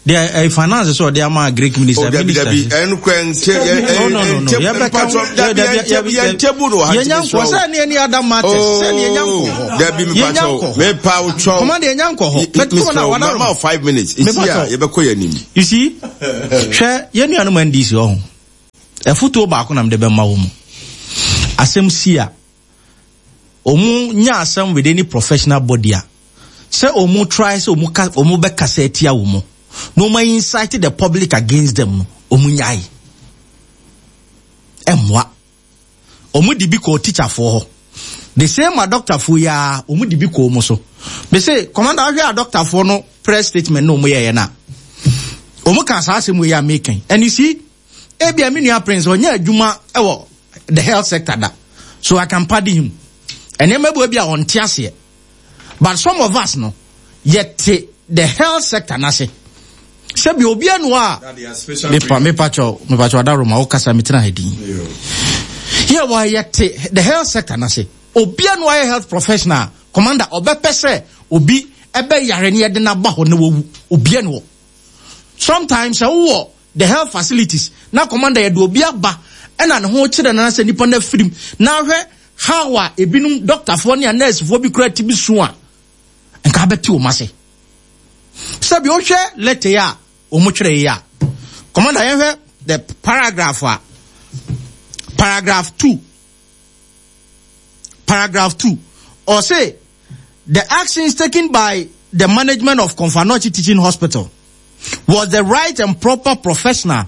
deɛ finance sɛ ɔde ama Greek minister. Oh, dabi dabi, ɛnu kura nkyɛ yɛ. No, no, no, no. Yɛbɛka ho. Dabi yɛn table no wɔ ha. Yɛnya nkɔ sɛ ne any other matters. Sɛ ne yɛnya nkɔ hɔ. Dabi mepa kyɛw, mepa kyɛw. Commander, yɛnya nkɔ hɔ. But come on, mama 5 minutes. Isi a yɛbɛkɔ yɛn anim. You see, hwɛ yɛn nuanom NDC wɔ ho. Ɛfotuo baako na mede bɛma wɔ mu. Asɛm si a, wɔn nya asɛm with any professional body a, sɛ wɔn try sɛ wɔn ka wɔn bɛkasa atia wɔn na wɔn incite the public against them no, wɔn nyae. Ɛmmoa. Wɔn de bi kɔɔ teacherfoɔ hɔ. The same adɔktafoɔ yi ara, wɔn de bi kɔɔ wɔn so. Mese, commander, ahwɛ adɔktafoɔ no press statement na wɔn yɛɛyɛ no a, wɔn ka saa asɛm wei a meka yi. And you see, ebia me nua Prince ɔnyɛ adwuma wɔ the health sector da, so I can pardon him. Nneɛma bi a ɔnte aseɛ. But some of us no, yɛte the health sector n'ase. Sɛbi obi anu a mepa mepa kyɛw mepa kyɛw adaroma wokasa metena ha din. Yɛ wɔ yɛte the health sector n'ase. Obi anu ayɛ health professional commander ɔbɛpɛ sɛ obi ɛbɛ yare ne yɛde n'aba hɔ na wawu. Obi anu hɔ. Sometimes sɛ wowɔ the health facilities na commander yɛde obi aba ɛna ne ho kyerɛ no sɛ nipa no afirim na ahwɛ how a ebinom doctorfoɔ ne nursefoɔ bi kura ti bi so a nka abɛte wɔn ase. Sɛbi wohwɛ letter yi a wɔn twerɛ yi a, commander yɛhwɛ the paragraph a, paragraph 2, paragraph 2, ɔse the actions taken by the management of Komfo Anokye Teaching Hospital was the right and proper professional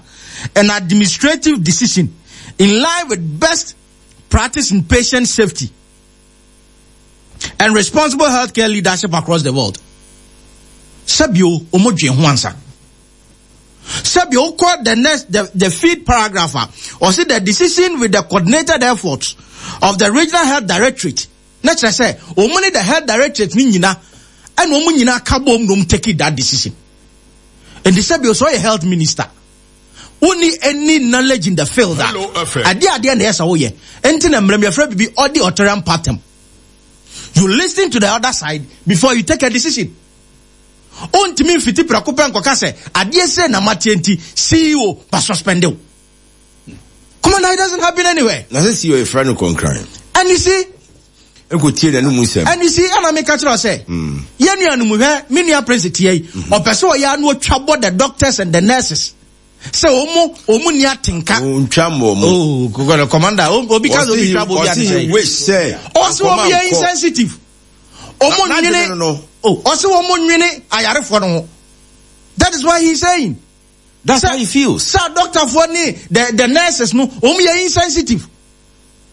and administrative decision in line with best practice in patient safety and responsible healthcare leadership across the world. Sɛbio omo dwen ho ansa. Sɛbio wokɔ the next the feed paragraph a ɔse the decision with the coordinated efforts of the regional health directorate na kyerɛ sɛ ɔmo ne the health directorate ne nyina ɛna ɔmo nyina ka bom na ɔmo take that decision. Nti sɛbio sɛ ɔyɛ health minister wonni any knowledge in the field a adeɛ adeɛ na ɛyɛ sɛ woyɛ nti na mmerɛm yɛfrɛ bibi ɔde authoritarian pattern. You listen to the other side before you take a decision. Ontumi mfiti prɛko pɛ nkɔka sɛ adeɛ sɛ na mateɛ nti CEO ba suspend wo. Commander, it doesn't happen anywhere. Na sɛ CEO yɛfrɛ no kɔnkran. And you see, Nko tie n'anum nsɛm. And you see, ɛna meka kyerɛ sɛ, yɛn nuanom hwɛ, me nua Prince tie yi, ɔpɛ sɛ ɔyɛ ano otwa bɔ the doctors and the nurses. Sɛ ɔmo ɔmo ni atenka. Ntwa mbɔ ɔmo. Oh, commander, obi ka sɛ obi twa bɔ obi adi sɛ. Ɔsi wish sɛ. Ɔsi ɔmo yɛ insensitive. Ɔmo nwene. Oh, ɔsi ɔmo nwene ayarefoɔ no ho. That is why he is saying. That's how he feels. Sɛ doctorfoɔ ne the nurses no, ɔmo yɛ insensitive.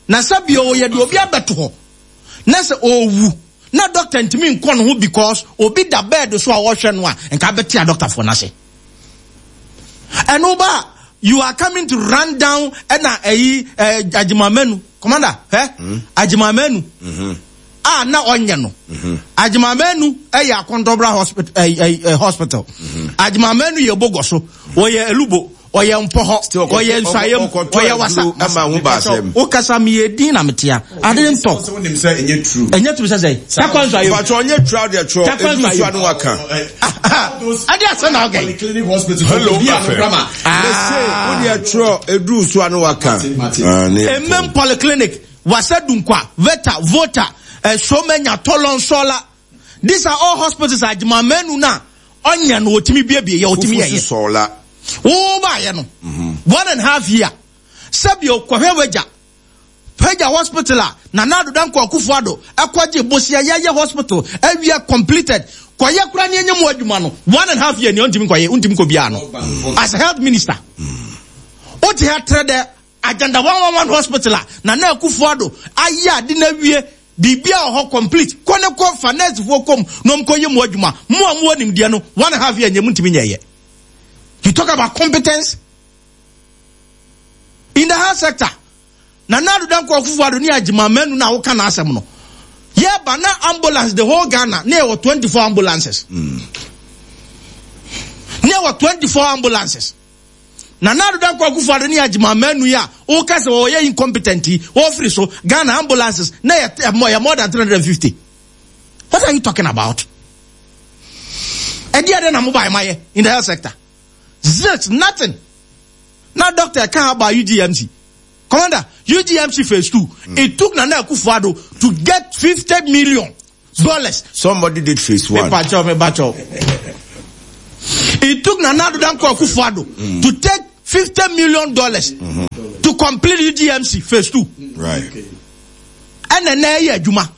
Na sɛ bio yɛde obi abɛto hɔ na sɛ ɔwu na doctor ntumi nkɔ ne ho because obi da bed so a ɔhwɛ no a, nka abɛte a doctorfoɔ no ase. Ɛno ba you are coming to run down ɛna ɛyi ɛ Agyeman-Manu commander ɛ mm. Agyeman-Manu mm-hmm. a na ɔnyɛ no mm-hmm. Agyeman-Manu ɛyɛ Akɔntɔbra hospital ɛ ɛ hospital mm-hmm. Agyeman-Manu yɛ Bogoso wɔyɛ Elubo ɔyɛ mpɔhɔ ɔyɛ nsayam ɔyɛ wasa wokasa meyɛ din na metea ade ntɔ ɛnyɛ turu sɛ sɛ takwa nsayam mpatsɔ ɔnyɛ turu adeɛ twerɛ edu nsu ano waka ade asɛ na ɔgɛ hello fm mese wodeɛ twerɛ edu nsu ano waka emem polyclinic wasa dunkwa veta vota somenya tolon sola. These are all hospitals a Agyeman-Manu no a ɔnyɛ no ɔtumi biebie yɛ ɔtumi yɛyɛ. Sɔɔla. Wo baayɛ no 1.5 year sɛbi ɔkɔhwɛ wagya Pagya hospital a Nana Addo Dankwa Akufo-Addo ɛkɔgye bosia yɛyɛ hospital awia completed kɔyɛ kora ne ɛnyɛ mu adwuma no 1.5 year nea ɔntumi nkɔyɛ ɔntumi nkɔ biara no as health minister wote ha trɛ dɛ Agenda 111 hospital a Nana Akufo-Addo ayɛ ade no awie biribiara wɔ hɔ complete kɔ ne kɔ fa nursefoɔ kɔm na ɔm kɔyɛ mu adwuma mo a mowɔ nimdeɛ no 1.5 year nyɛ mu ntumi nyɛyɛ. You talk about competence in the health sector. Nana Addo Dankwa Akufo-Addo ne Agyeman Manu na woka n'asɛm no. Yɛba na ambulance the whole Ghana na yɛwɔ 24 ambulances. Na yɛwɔ 24 ambulances. Nana Addo Dankwa Akufo-Addo ne Agyeman Manu yi a woka sɛ wɔyɛ incompetent yi, wɔfiri so, Ghana ambulances na yɛ yɛ more than 350. What are you talking about? Ɛdeɛ dɛn na mo bae mayɛ in the health sector? Zilch, nothing. Na doctor ɛka about UGMC. Commander, UGMC phase 2, it took Nana Akufo-Addo to get 50 million dollars. Somebody did phase 1. Me pacho, me pacho. It took Nana Addo Dankwa Akufo-Addo to take 50 million dollars to complete UGMC phase 2. And then na ɛyɛ adwuma.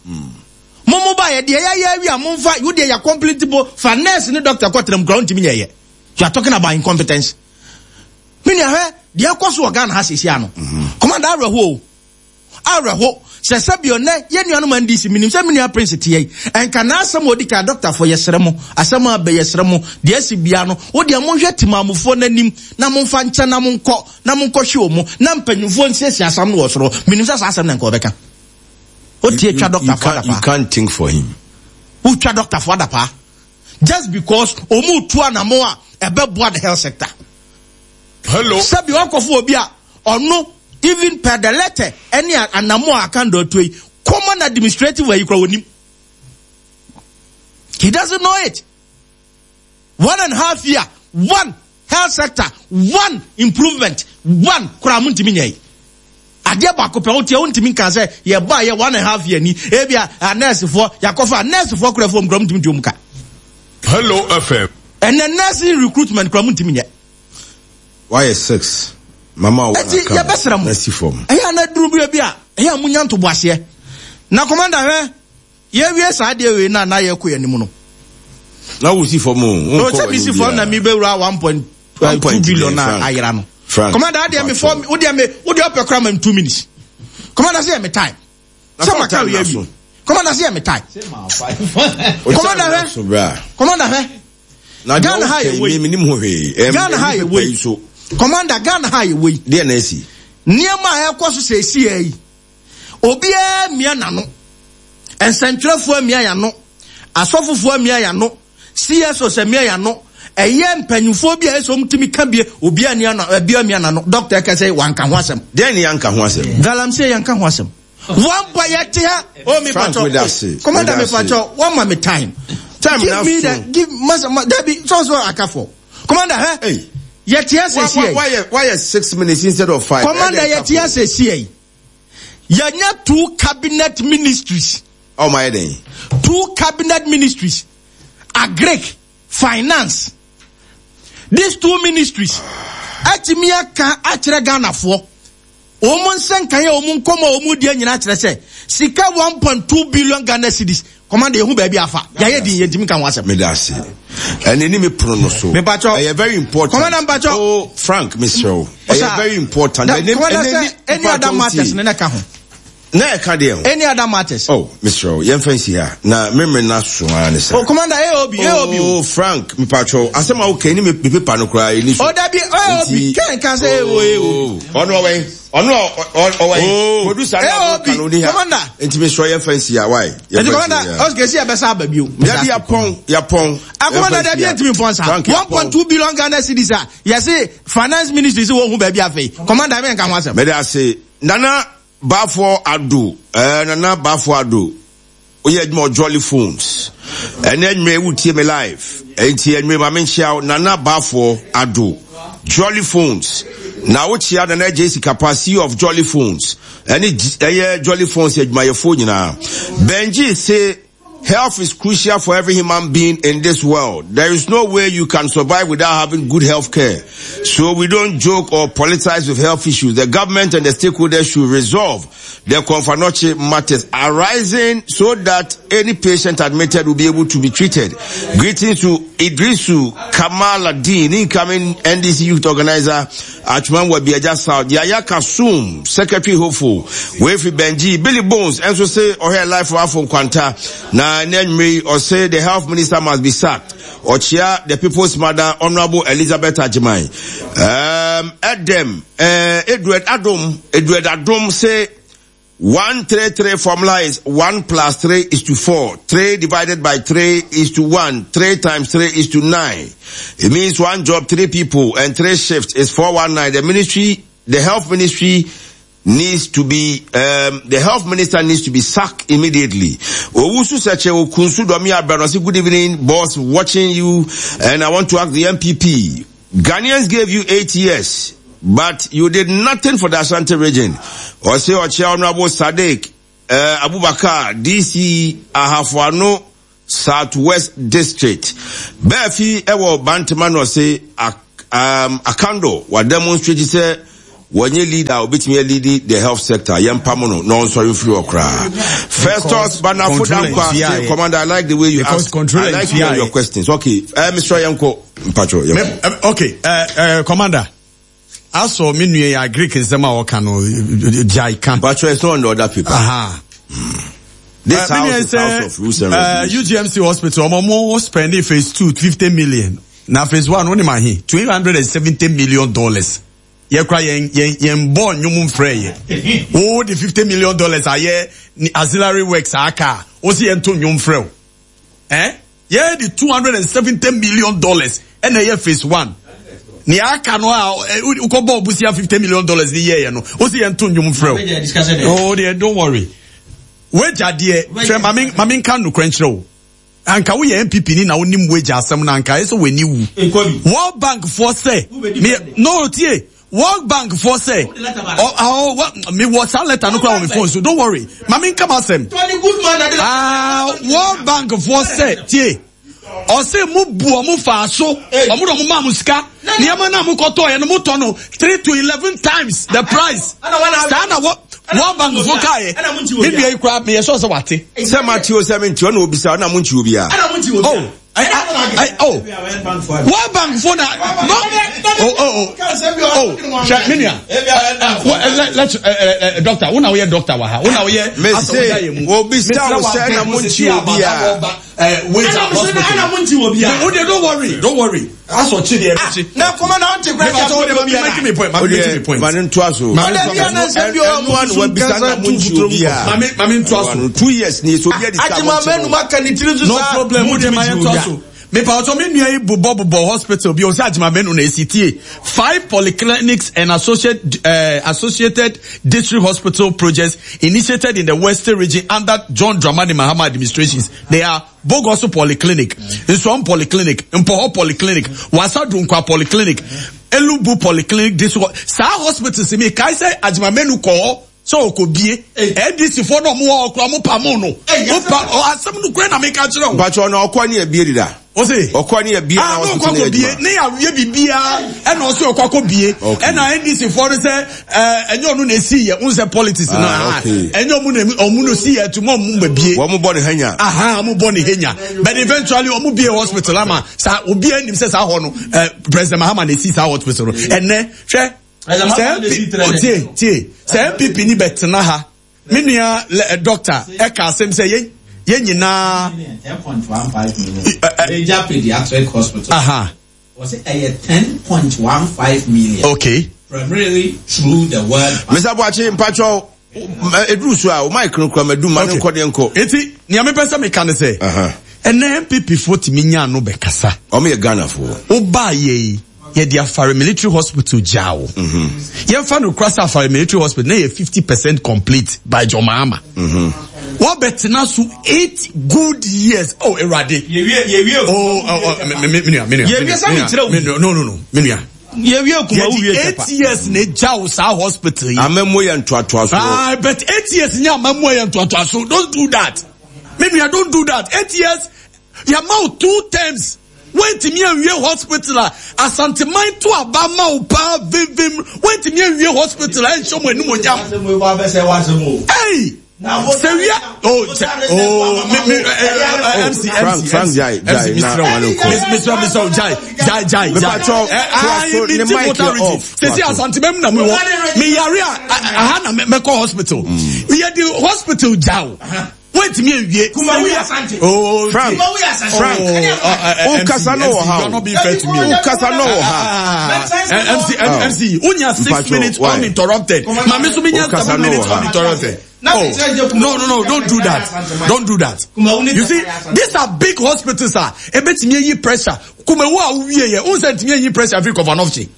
Mo mo ba yɛ deɛ yɛayɛ awie a momfa wo deɛ yɛ complete bo fa nurse ne doctor kɔtena mu koraa wontumi nyɛ yɛ. You are talking about incompetence. Me nua hwɛ deɛ ɛkɔ so wɔ Ghana ha seesia no. Commander awerɛho o. Awerɛho sɛ sɛbio nnɛ yɛn nuanom NDC menim sɛ me nua Prince teɛ yi ɛnka n'asɛm a ɔdi kan doctor fo yɛsrɛ mo asɛm a abɛ yɛsrɛ mo deɛ asi bia no wo deɛ monhwɛ timamufoɔ no anim na momfa nkyɛ na monkɔ na monkɔhwe ɔmo na mpanyinfoɔ nsiesie asɛm no wɔ soro. Menim sɛ saa asɛm na nka ɔbɛka. Wotie twa doctor fo adapaa. You can't think for him. Wotwa doctor fo adapaa. Just because ɔmo tu anamo a ɛbɛboa the health sector. Hello. Sɛbi ɔkɔfo obi a ɔno even per the letter ɛne anamo a aka ndɔ atuo yi common administrative ayi kura onim. He doesn't know it. 1.5 year, one health sector, one improvement, one kura mu ntumi nyɛ yi. Adeɛ baako pɛ wotia wontumi nka sɛ yɛbɔ a yɛ 1.5 year ni ebi a nursefoɔ yakɔfa nursefoɔ kura fam kura mu ntumi ntuo mu ka. Hello FM. Ɛnɛ nursing recruitment kura mu ntumi nyɛ. Why 6? Mama wa Eti yɛbɛsrɛ mo. Nasi fam. Ɛyɛ ana duru bi bi a ɛyɛ a munya ntoboaseɛ. Na commander hwɛ yɛwie saa adeɛ wei na na yɛkɔ yɛn anim no. Na wo si fam o. No, sɛ mi si fam na mi bɛwura one point two billion na ayera no. Frank. Commander adeɛ mi fɔ wo deɛ mi wo deɛ ɔpɛ kora ma mi 2 minutes. Commander sɛ yɛ mi time. Sɛ ma ka wei awie. Commander sɛ yɛ mi time. Commander hwɛ. Commander hwɛ. Na Ghana ha yɛ wei. Mi nim ho hwee. Ghana ha yɛ wei. Commander Ghana ha yɛ wei. Deɛ na esi. Nneɛma a ɛkɔ so sɛ esi yɛ yi. Obiara mia n'ano. Nsɛntwerɛfoɔ mia y'ano. Asɔfofoɔ mia y'ano. CSO sɛ mia y'ano. Ɛyɛ mpanyinfoɔ bi a ɛsɛ wɔn tumi ka bie. Obiara mia n'ano. Obiara mia n'ano. Doctor ɛka sɛ wanka ho asɛm. Deɛ ni yanka ho asɛm. Galamsey yanka ho asɛm. One boy yɛ te ha. Oh mi Frank, pacho. Commander mi pacho. One ma mi time. Time Give na me so. the give masa ma Debbie so so aka for. Commander hɛ. Hey. Yɛ te ha sɛsi yɛ. Why yɛ 6 minutes instead of 5? Commander yɛ te ha sɛsi yɛ. Yɛnya 2 cabinet ministries. Oh my day. 2 cabinet ministries. Agric, finance. These 2 ministries. Atimi aka akyerɛ Ghana for. Omo nsenkan ya omo nkomo omo die nyina kyerɛ sɛ sika 1.2 billion Ghana cedis. Commander yehu baabi afa. Ya ye din yentimi ka ho asɛm. Me da se. Ene ni me prono no so. Me pacho. Ɛyɛ very important. Commander mpacho. Oh Frank Mr. Ɛyɛ very important. Da, Commander sɛ any other matters ne na ka ho. Na ɛka deɛ ho. Any other matters? Oh, Mr. Yɛn fɛn si ha. Na memre na so ara ne sa. Oh, Commander AOB, AOB. Oh, Frank, me pacho. Asɛm a woka ni me paper no koraa ni so. Oh, dabi AOB. Ken kan sɛ AOB, AOB. Ɔno ɔwɛn. Ɔno ɔwɛn. Oh. Producer na AOB, ɔka no ni ha. Commander. Nti me sure yɛn fɛn si ha. Why? Nti Commander, okay, si yɛbɛsa aba bio. Dabi yapɔn, yapɔn. Ah, Commander, dabi yɛntumi mpɔn saa. Frank, yapɔn. 1.2 billion Ghana cedis a yɛse finance ministry sɛ wɔhu baabi afei. Commander, me nka ho asɛm. Mede ase. Nana Bafo Ado, Nana Bafo Ado, oyɛ adwuma wɔ Jolly Phones. Ɛnɛ anwummerɛ wotie me live. Enti anwummerɛ ma menkyia wo, Nana Bafo Ado, Jolly Phones. Na wokyia Nana JC Kapa, CEO of Jolly Phones. Ɛne ɛyɛ Jolly Phones adwumayɛfoɔ nyinaa. Benji se health is crucial for every human being in this world. There is no way you can survive without having good health care. So we don't joke or politicize with health issues. The government and the stakeholders should resolve the Komfo Anokye matters arising so that any patient admitted will be able to be treated. Greetings to Idrisu Kamaladeen, incoming NDC youth organizer Atwima Nwabiagya South, Yaya Kasum, Secretary Hopeful, Wefi Benji, Billy Bones, and so say, or her life for Afon Kwanta. Na Nenri, or say the health minister must be sacked. Ochia, the people's mother, Honorable Elizabeth Ajimai. Edem, Edward Adom, Edward Adom say, 133 formula is 1 plus 3 is to 4. 3 divided by 3 is to 1. 3 times 3 is to 9. It means one job, three people, and three shifts is 419. The ministry, the health ministry needs to be, um, the health minister needs to be sacked immediately. Owusu Seche Okunsu Domi Abranosi, good evening, boss, watching you, and I want to ask the MPP. Ghanaians gave you eight years, but you did nothing for the Ashanti region. Ose Oche Honorable Sadiq, uh, Abubakar, DC, Ahafuano, South West District. Baafi ɛwɔ Bantama na ɔse um, Akando wa demonstrate sɛ wɔnyɛ leader a obetumi alidi the health sector yɛn pam no na ɔnsɔre mfiri hɔ koraa. Festus Banafo Dankwa say commander I like the way you ask I like your questions. Okay, uh, Mr. Yanko Mpatro. Okay, uh, uh, commander. Asɔ me nua yi a Greek nsɛm a ɔka no gyae ka. Mpatro it's not on the other paper. Aha. This house is house of rules and regulations. UGMC hospital ɔmo mo spending phase 2 50 million. Na phase 1 wonim ahe? 270 million dollars. Yɛ kora yɛn yɛn yɛn bɔ nnwom mfrɛ yɛ. Wo de 50 million dollars ayɛ auxiliary works aka a, wo si yɛn to nnwom frɛ wo. Eh? Yɛ de 270 million dollars ɛna ɛyɛ phase 1. Nea aka no a wokɔ bɔ obusia 50 million dollars ni yɛyɛ no, wo si yɛn to nnwom frɛ wo. Oh dear, don't worry. Wagya deɛ, hwɛ mame mame nka nokorɛ nkyerɛ wo. Anka woyɛ NPP ni na wonim wagya asɛm no anka ɛsɛ w'ani wu. World Bank foɔ sɛ, me no tie, World Bank foɔ sɛ, ɔ ɔ me wɔ saa letter no kora wɔ me phone so, don't worry. Mame nka m'asɛm. Ah, World Bank foɔ sɛ, tie, ɔse mo bu ɔmo faa so, ɔmo na ɔmo maa mo sika, nneɛma no a mo kɔtɔɔ yɛ no mo tɔ no 3 to 11 times the price. Saa na wɔ World Bank fo kaeɛ. Me nua yi koraa meyɛ sure sɛ wate. Sɛ mate o sɛ mente ɔna obisa ɔna mo nkyi obiara. Oh, I, oh, World Bank fo na no oh oh oh oh hwɛ me nua let doctor wo na woyɛ doctor wɔ ha wo na woyɛ asɔwogya yɛ mu. Obisa wo sɛ na mo nkyi obiara. Wait hospital. Wo de don't worry don't worry. Asɔ kyi deɛ ɛbɛkyi. Na kɔmɔ na ɔnte kura kyɛ sɛ ɔde ma mi point ma mi make mi point. Ma ne ntoa so. Ɔde bi anasɛ bi ɔwɔ mu susu nkasa tu futuro mu kɔ. Mami mami ntoa so. 2 years ni so obi adi sika mo nkyɛn. Ajima mɛnu ma ka ne tiri so saa. No problem wo de ma yɛ ntoa so. Mepa ɔtɔ mi nua yi bobɔ bobɔ hospital bi ɔsɛ Ajima mɛnu na esi tie five polyclinics and associate, uh, associated district hospital projects initiated in the western region under John Dramani Mahama administrations. They are Bogoso Polyclinic, Nsuam Polyclinic, Mpohor Polyclinic, Wasa Dunkwa Polyclinic, Elubu Polyclinic, District. Saa hospitals mi kae sɛ Ajimamenu kɔ hɔ sɛ ɔkɔ bie. NDC foɔ na ɔmo wɔ hɔ koraa ɔmo pa mo no. Mo pa asɛm no kura na mi ka kyerɛ o. Mpatsɔ na ɔkɔ ne ebie dida. Ɔse. Ɔkɔ ne ebie na hospital ne adwuma. Ne awie bibia ɛna ɔsɛ ɔkɔ akɔ bie. Ɛna NDC foɔ no sɛ ɛnyɛ ɔno na esi yɛ n sɛ politics no ah ɛnyɛ ɔmo na ɔmo na esi yɛ tuma ɔmo ma bie. Wɔn bɔ ne henya. Aha ɔmo bɔ ne henya but eventually ɔmo bie hospital ama saa obi anim sɛ saa hɔ no ɛ President Mahama na esi saa hospital no ɛnɛ hwɛ sɛ NPP tie tie sɛ NPP ni bɛ tena ha me nua doctor ɛka asɛm sɛ yɛn yɛn nyinaa. 10.15 million. Major pediatric hospital. Aha. Was it a 10.15 million? Okay. Primarily through the World Bank. Mr. Boakye, mpacho, eduru so a, o mic no kura madu ma ne nkɔ deɛ nkɔ. Eti, nea mepɛ sɛ meka ne sɛ, ɛnɛ NPP foɔ tumi nya ano bɛkasa. Ɔmo yɛ Ghana foɔ. Wobaa yɛ yi, yɛde Afare Military Hospital gyaa wo. Yɛmfa no kora sɛ Afare Military Hospital na yɛ 50% complete by John Mahama. Wɔbɛtena so 8 good years. Oh, Awurade. Oh, oh, oh, me nua, me nua. Me nua, no, no, no, me nua. Yɛwie kuma wo wie kyapa. 8 years na egya wo saa hospital yi. Amamuo yɛ ntoatoaso. Ah, but 8 years nyɛ amamuo yɛ ntoatoaso. Don't do that. Me nua, don't do that. 8 years, yɛma wo 2 terms. Woantumi anwie hospital a Asanteman to aba ma wo paa vimvim. Woantumi anwie hospital a ɛnhyɛ mo animuonyam. Hey! Sɛ wia oh sɛ oh me me MC MC Frank jai jai na mesra mesra oh jai jai jai jai eh mi ti voter region sisi Asanteman mu na mi wɔ mi yare a aha na mɛkɔ hospital yɛ di hospital gya o. Wait me awie. Kumawu Asante. Oh, Frank. Kumawu Asante. Frank. Oh, Ukasa no wɔ ha. You are not being fair to me. Ukasa no wɔ ha. MC, MC, unya 6 minutes uninterrupted. Mami so minya 7 minutes uninterrupted. Oh, no, no, no, don't do that. Don't do that. You see, these are big hospitals. Ah, ebetumi eyi pressure. Kumawu a wowie yɛ, n sɛ ntumi eyi pressure firi Komfo Anokye.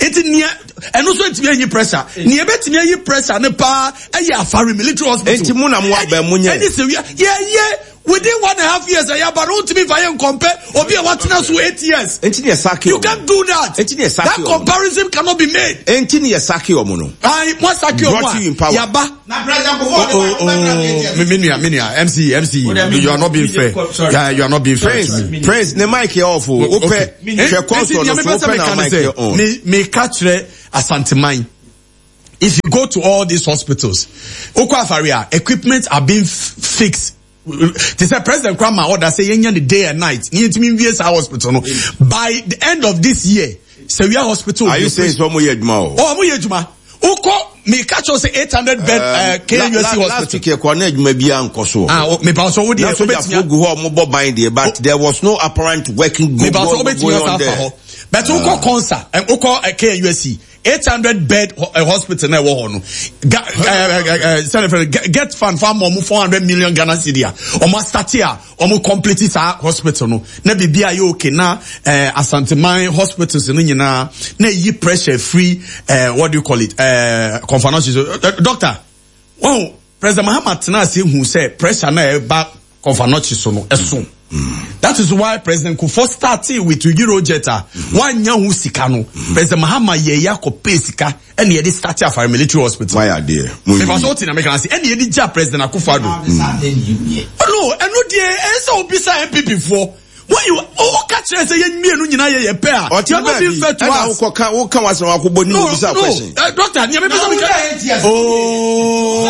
Eti nea ɛno nso ntumi eyi pressure. Nea ebetumi eyi pressure ne paa ɛyɛ Afari military hospital. Eti mu na mo abɛn mo nyɛ. Ɛni sɛ wia yɛ yɛ within 1.5 years ɛyɛ aba no ntumi nfa yɛ nkɔmpɛ obi a watena so 8 years. Enti ne yɛ saki You can't do that. Enti ne yɛ saki That comparison cannot be made. Enti ne yɛ saki ɔmo no. Ayi mo saki ɔmo Brought you in a power. yaba. Oh, me nua, me nua, MC, MC, you are not being fair. Yeah, you are not being fair. Prince, Prince, ne mic yɛ off o. Wopɛ hwɛ console no so wopɛ na mic yɛ on. Me me ka kyerɛ Asanteman. If you go to all these hospitals, okɔ afari a equipment are being fixed. Te sɛ president kora ma order sɛ yɛnyɛ ne day and night ne yɛntumi nwie saa hospital no by the end of this year. Sewia hospital. Are you saying sɛ ɔmo yɛ adwuma o? Oh, ɔmo yɛ adwuma. Wokɔ meka kyerɛ sɛ 800 bed KUSC hospital. Last week yɛkɔ na adwuma biara nkɔ so. Ah, mepa so wo deɛ Na sogyafoɔ gu hɔ a ɔmo bɔ ban deɛ but there was no apparent working go mepa so wobɛtumi going asa on afa there. hɔ. But wokɔ concert, wokɔ KUSC 800 bed hospital na ɛwɔ hɔ no. Sɛne fɛ get fund fa ma ɔmo 400 million Ghana cedi a ɔmo asate a ɔmo complete saa hospital no na biribi ayɛ okay na Asanteman hospitals no nyinaa na eyi pressure free, what do you call it, Komfo Anokye so, doctor wɔn President Mahama tena ase hu sɛ pressure na ɛba Komfo Anokye so no ɛso. That is why President Kufuor started with Eurojet a wanya ho sika no. President Mahama yɛ yɛ akɔpɛ sika ɛna yɛde start Afari military hospital. Why are there? Mepa so wote na meka ase ɛna yɛde gya President Akufo-Addo. No, ɛno deɛ ɛsɛ obisa NPP foɔ. When you woka kyerɛ sɛ yɛn mmienu nyinaa yɛ yɛ pɛ a, you are not being fair to ɛna us. wokɔka woka wasɛm akɔbɔ ne No, obisa no, question. Doctor, nea mepɛ sɛ meka. Oh,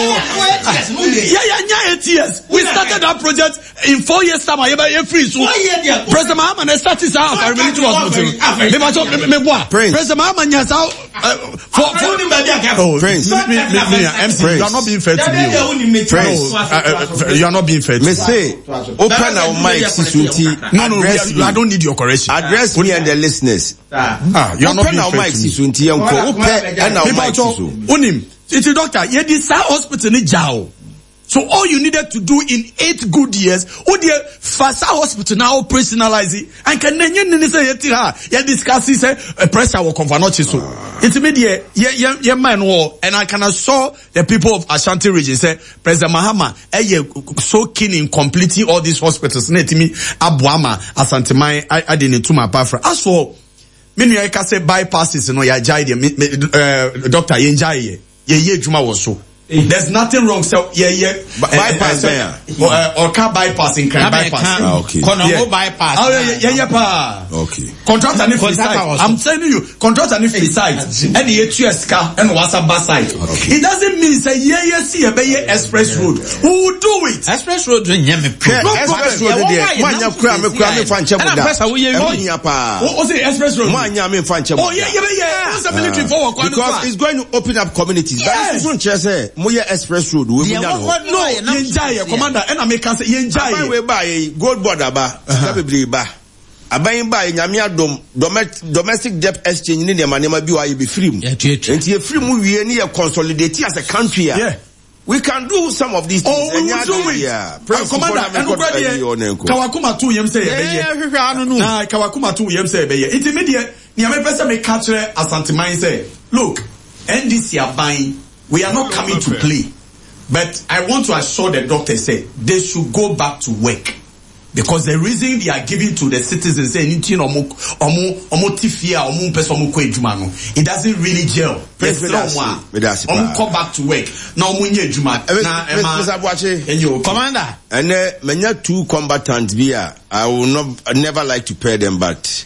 yeah, yeah, yeah, 8 years. We started that project in 4 years time. I yɛ free so. President Mahama na start saa Afari military hospital. Me ba so me me boa. Prince. President Mahama nya saa for. Oh, Prince. Me, MC, you are not being fair to me. oh. Prince. No, you are not being fair to Me me. se open our mic si so nti No, no, address I me. don't need your correction. Address me and the listeners. Ah, you are not Open being our fair mic to si me. so nti yɛnkɔ. Wopɛ ɛna wo mic si so. Onim, iti doctor, yɛdi saa hospital ni gya o. So all you needed to do in 8 good years, o deɛ fa saa hospital na operationalize it. Anka na nye nini sɛ yɛte ha, yɛ discuss sɛ pressure wɔ Komfo Anokye so. Nti mi deɛ yɛ yɛ yɛ man wɔ, and I can assure the people of Ashanti region sɛ President Mahama ɛyɛ so keen in completing all these hospitals na etimi aboa ma Asanteman ade ne tum apafra. As for me nua yi ka sɛ bypasses no yɛagyae deɛ me me doctor yɛngyae yɛ yɛyɛ adwuma wɔ so. There's nothing wrong sɛ yɛyɛ Bypass bɛn a? Ɔka bypass Nkran bypass. Ah, okay. Kɔnɔngo bypass. Ah, yɛyɛ paa. Okay. Contractor ne free Contractor site. wɔ so. I'm telling you, contractor ne free site. Ɛna yɛtua sika ɛna wasa ba site. It doesn't mean sɛ yɛyɛ si yɛbɛyɛ express road. We will do it. Express road nyɛ me Hwɛ problem. express road deɛ moanya kura me kura me fa nkyɛ mo Ɛna da. pɛ sɛ woyɛ Ɛho wie. hia paa. O say express road. Moanya me fa nkyɛ mo Oh yeah, da. yeah, yeah. O sɛ military fo wɔ kwan no so Because a. it's going to open up communities. But Yes. nso nkyerɛ sɛ moyɛ express road wei Deɛ monya no wɔwɔ hɔ. no a yɛnam No, yɛngyae yɛ commander ɛna meka sɛ yɛngyae Aban yɛ. wei baa yɛ yi gold board aba sika bebree ba. Aban baa yɛ nyame adom domestic debt exchange ne nneɛma nneɛma bi wɔ a yɛbɛfiri mu. Yɛtuatua. Nti yɛfiri mu wie ne yɛ consolidate as a country a. Yeah. We can do some of these things. Oh, we will do it. Commander, ɛno kora deɛ, kawakoma to yam sɛ yɛbɛyɛ. Hwehwɛ ano no. Na kawakoma to yam sɛ yɛbɛyɛ. Nti me deɛ, nea mepɛ sɛ meka kyerɛ Asanteman sɛ, look, NDC aban, we are not coming to play. But I want to assure the doctors say they should go back to work. Because the reason they are giving to the citizens say nti na ɔmo ɔmo ɔmo ti fie a ɔmo mpɛ sɛ ɔmo kɔ adwuma no, it doesn't really gel. Prince, Yɛsrɛ ɔmo a meda ase ɔmo paa. kɔ back to work na ɔmo nyɛ adwuma na ɛma Mr. Boakye. ɛnyɛ okay. Commander. Ɛnɛ manya two combatants bi a I will not never like to pair them but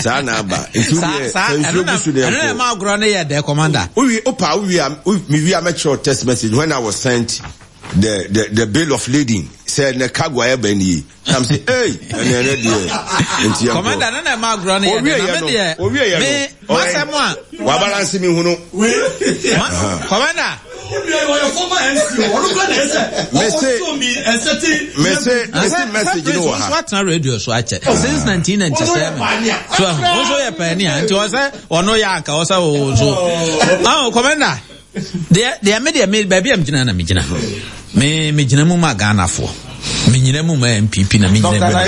saa na aba. Nti Saa wodeɛ saa sɛ ɛno nsuo na gu so deɛ ɛno na nkɔ. ɛma agorɔ no yɛ dɛ commander. Wowie opa wowie a mewie a mɛkyerɛw text message when I was sent the bill of lading sɛ ne cargo a ɛba nie. Na m sɛ hey ɛnɛ ɛnɛ deɛ nti yɛnkɔ. Commander ɛno na ɛma agorɔ no yɛ dɛ na me deɛ Owie yɛ me no. masɛm a Wabalance mi hunu. commander. Mese message no wɔ ha. Watena radio so akyɛ since 1997. So ɛho nso yɛ pɛni a nti ɔsɛ ɔno yɛ anka ɔsɛ o so. Ɔn commander. Deɛ deɛ me deɛ me baabi a megyina na megyina. Me megyina mu ma Ghanafoɔ. Menyina mu ma NPP na menyina mu ma.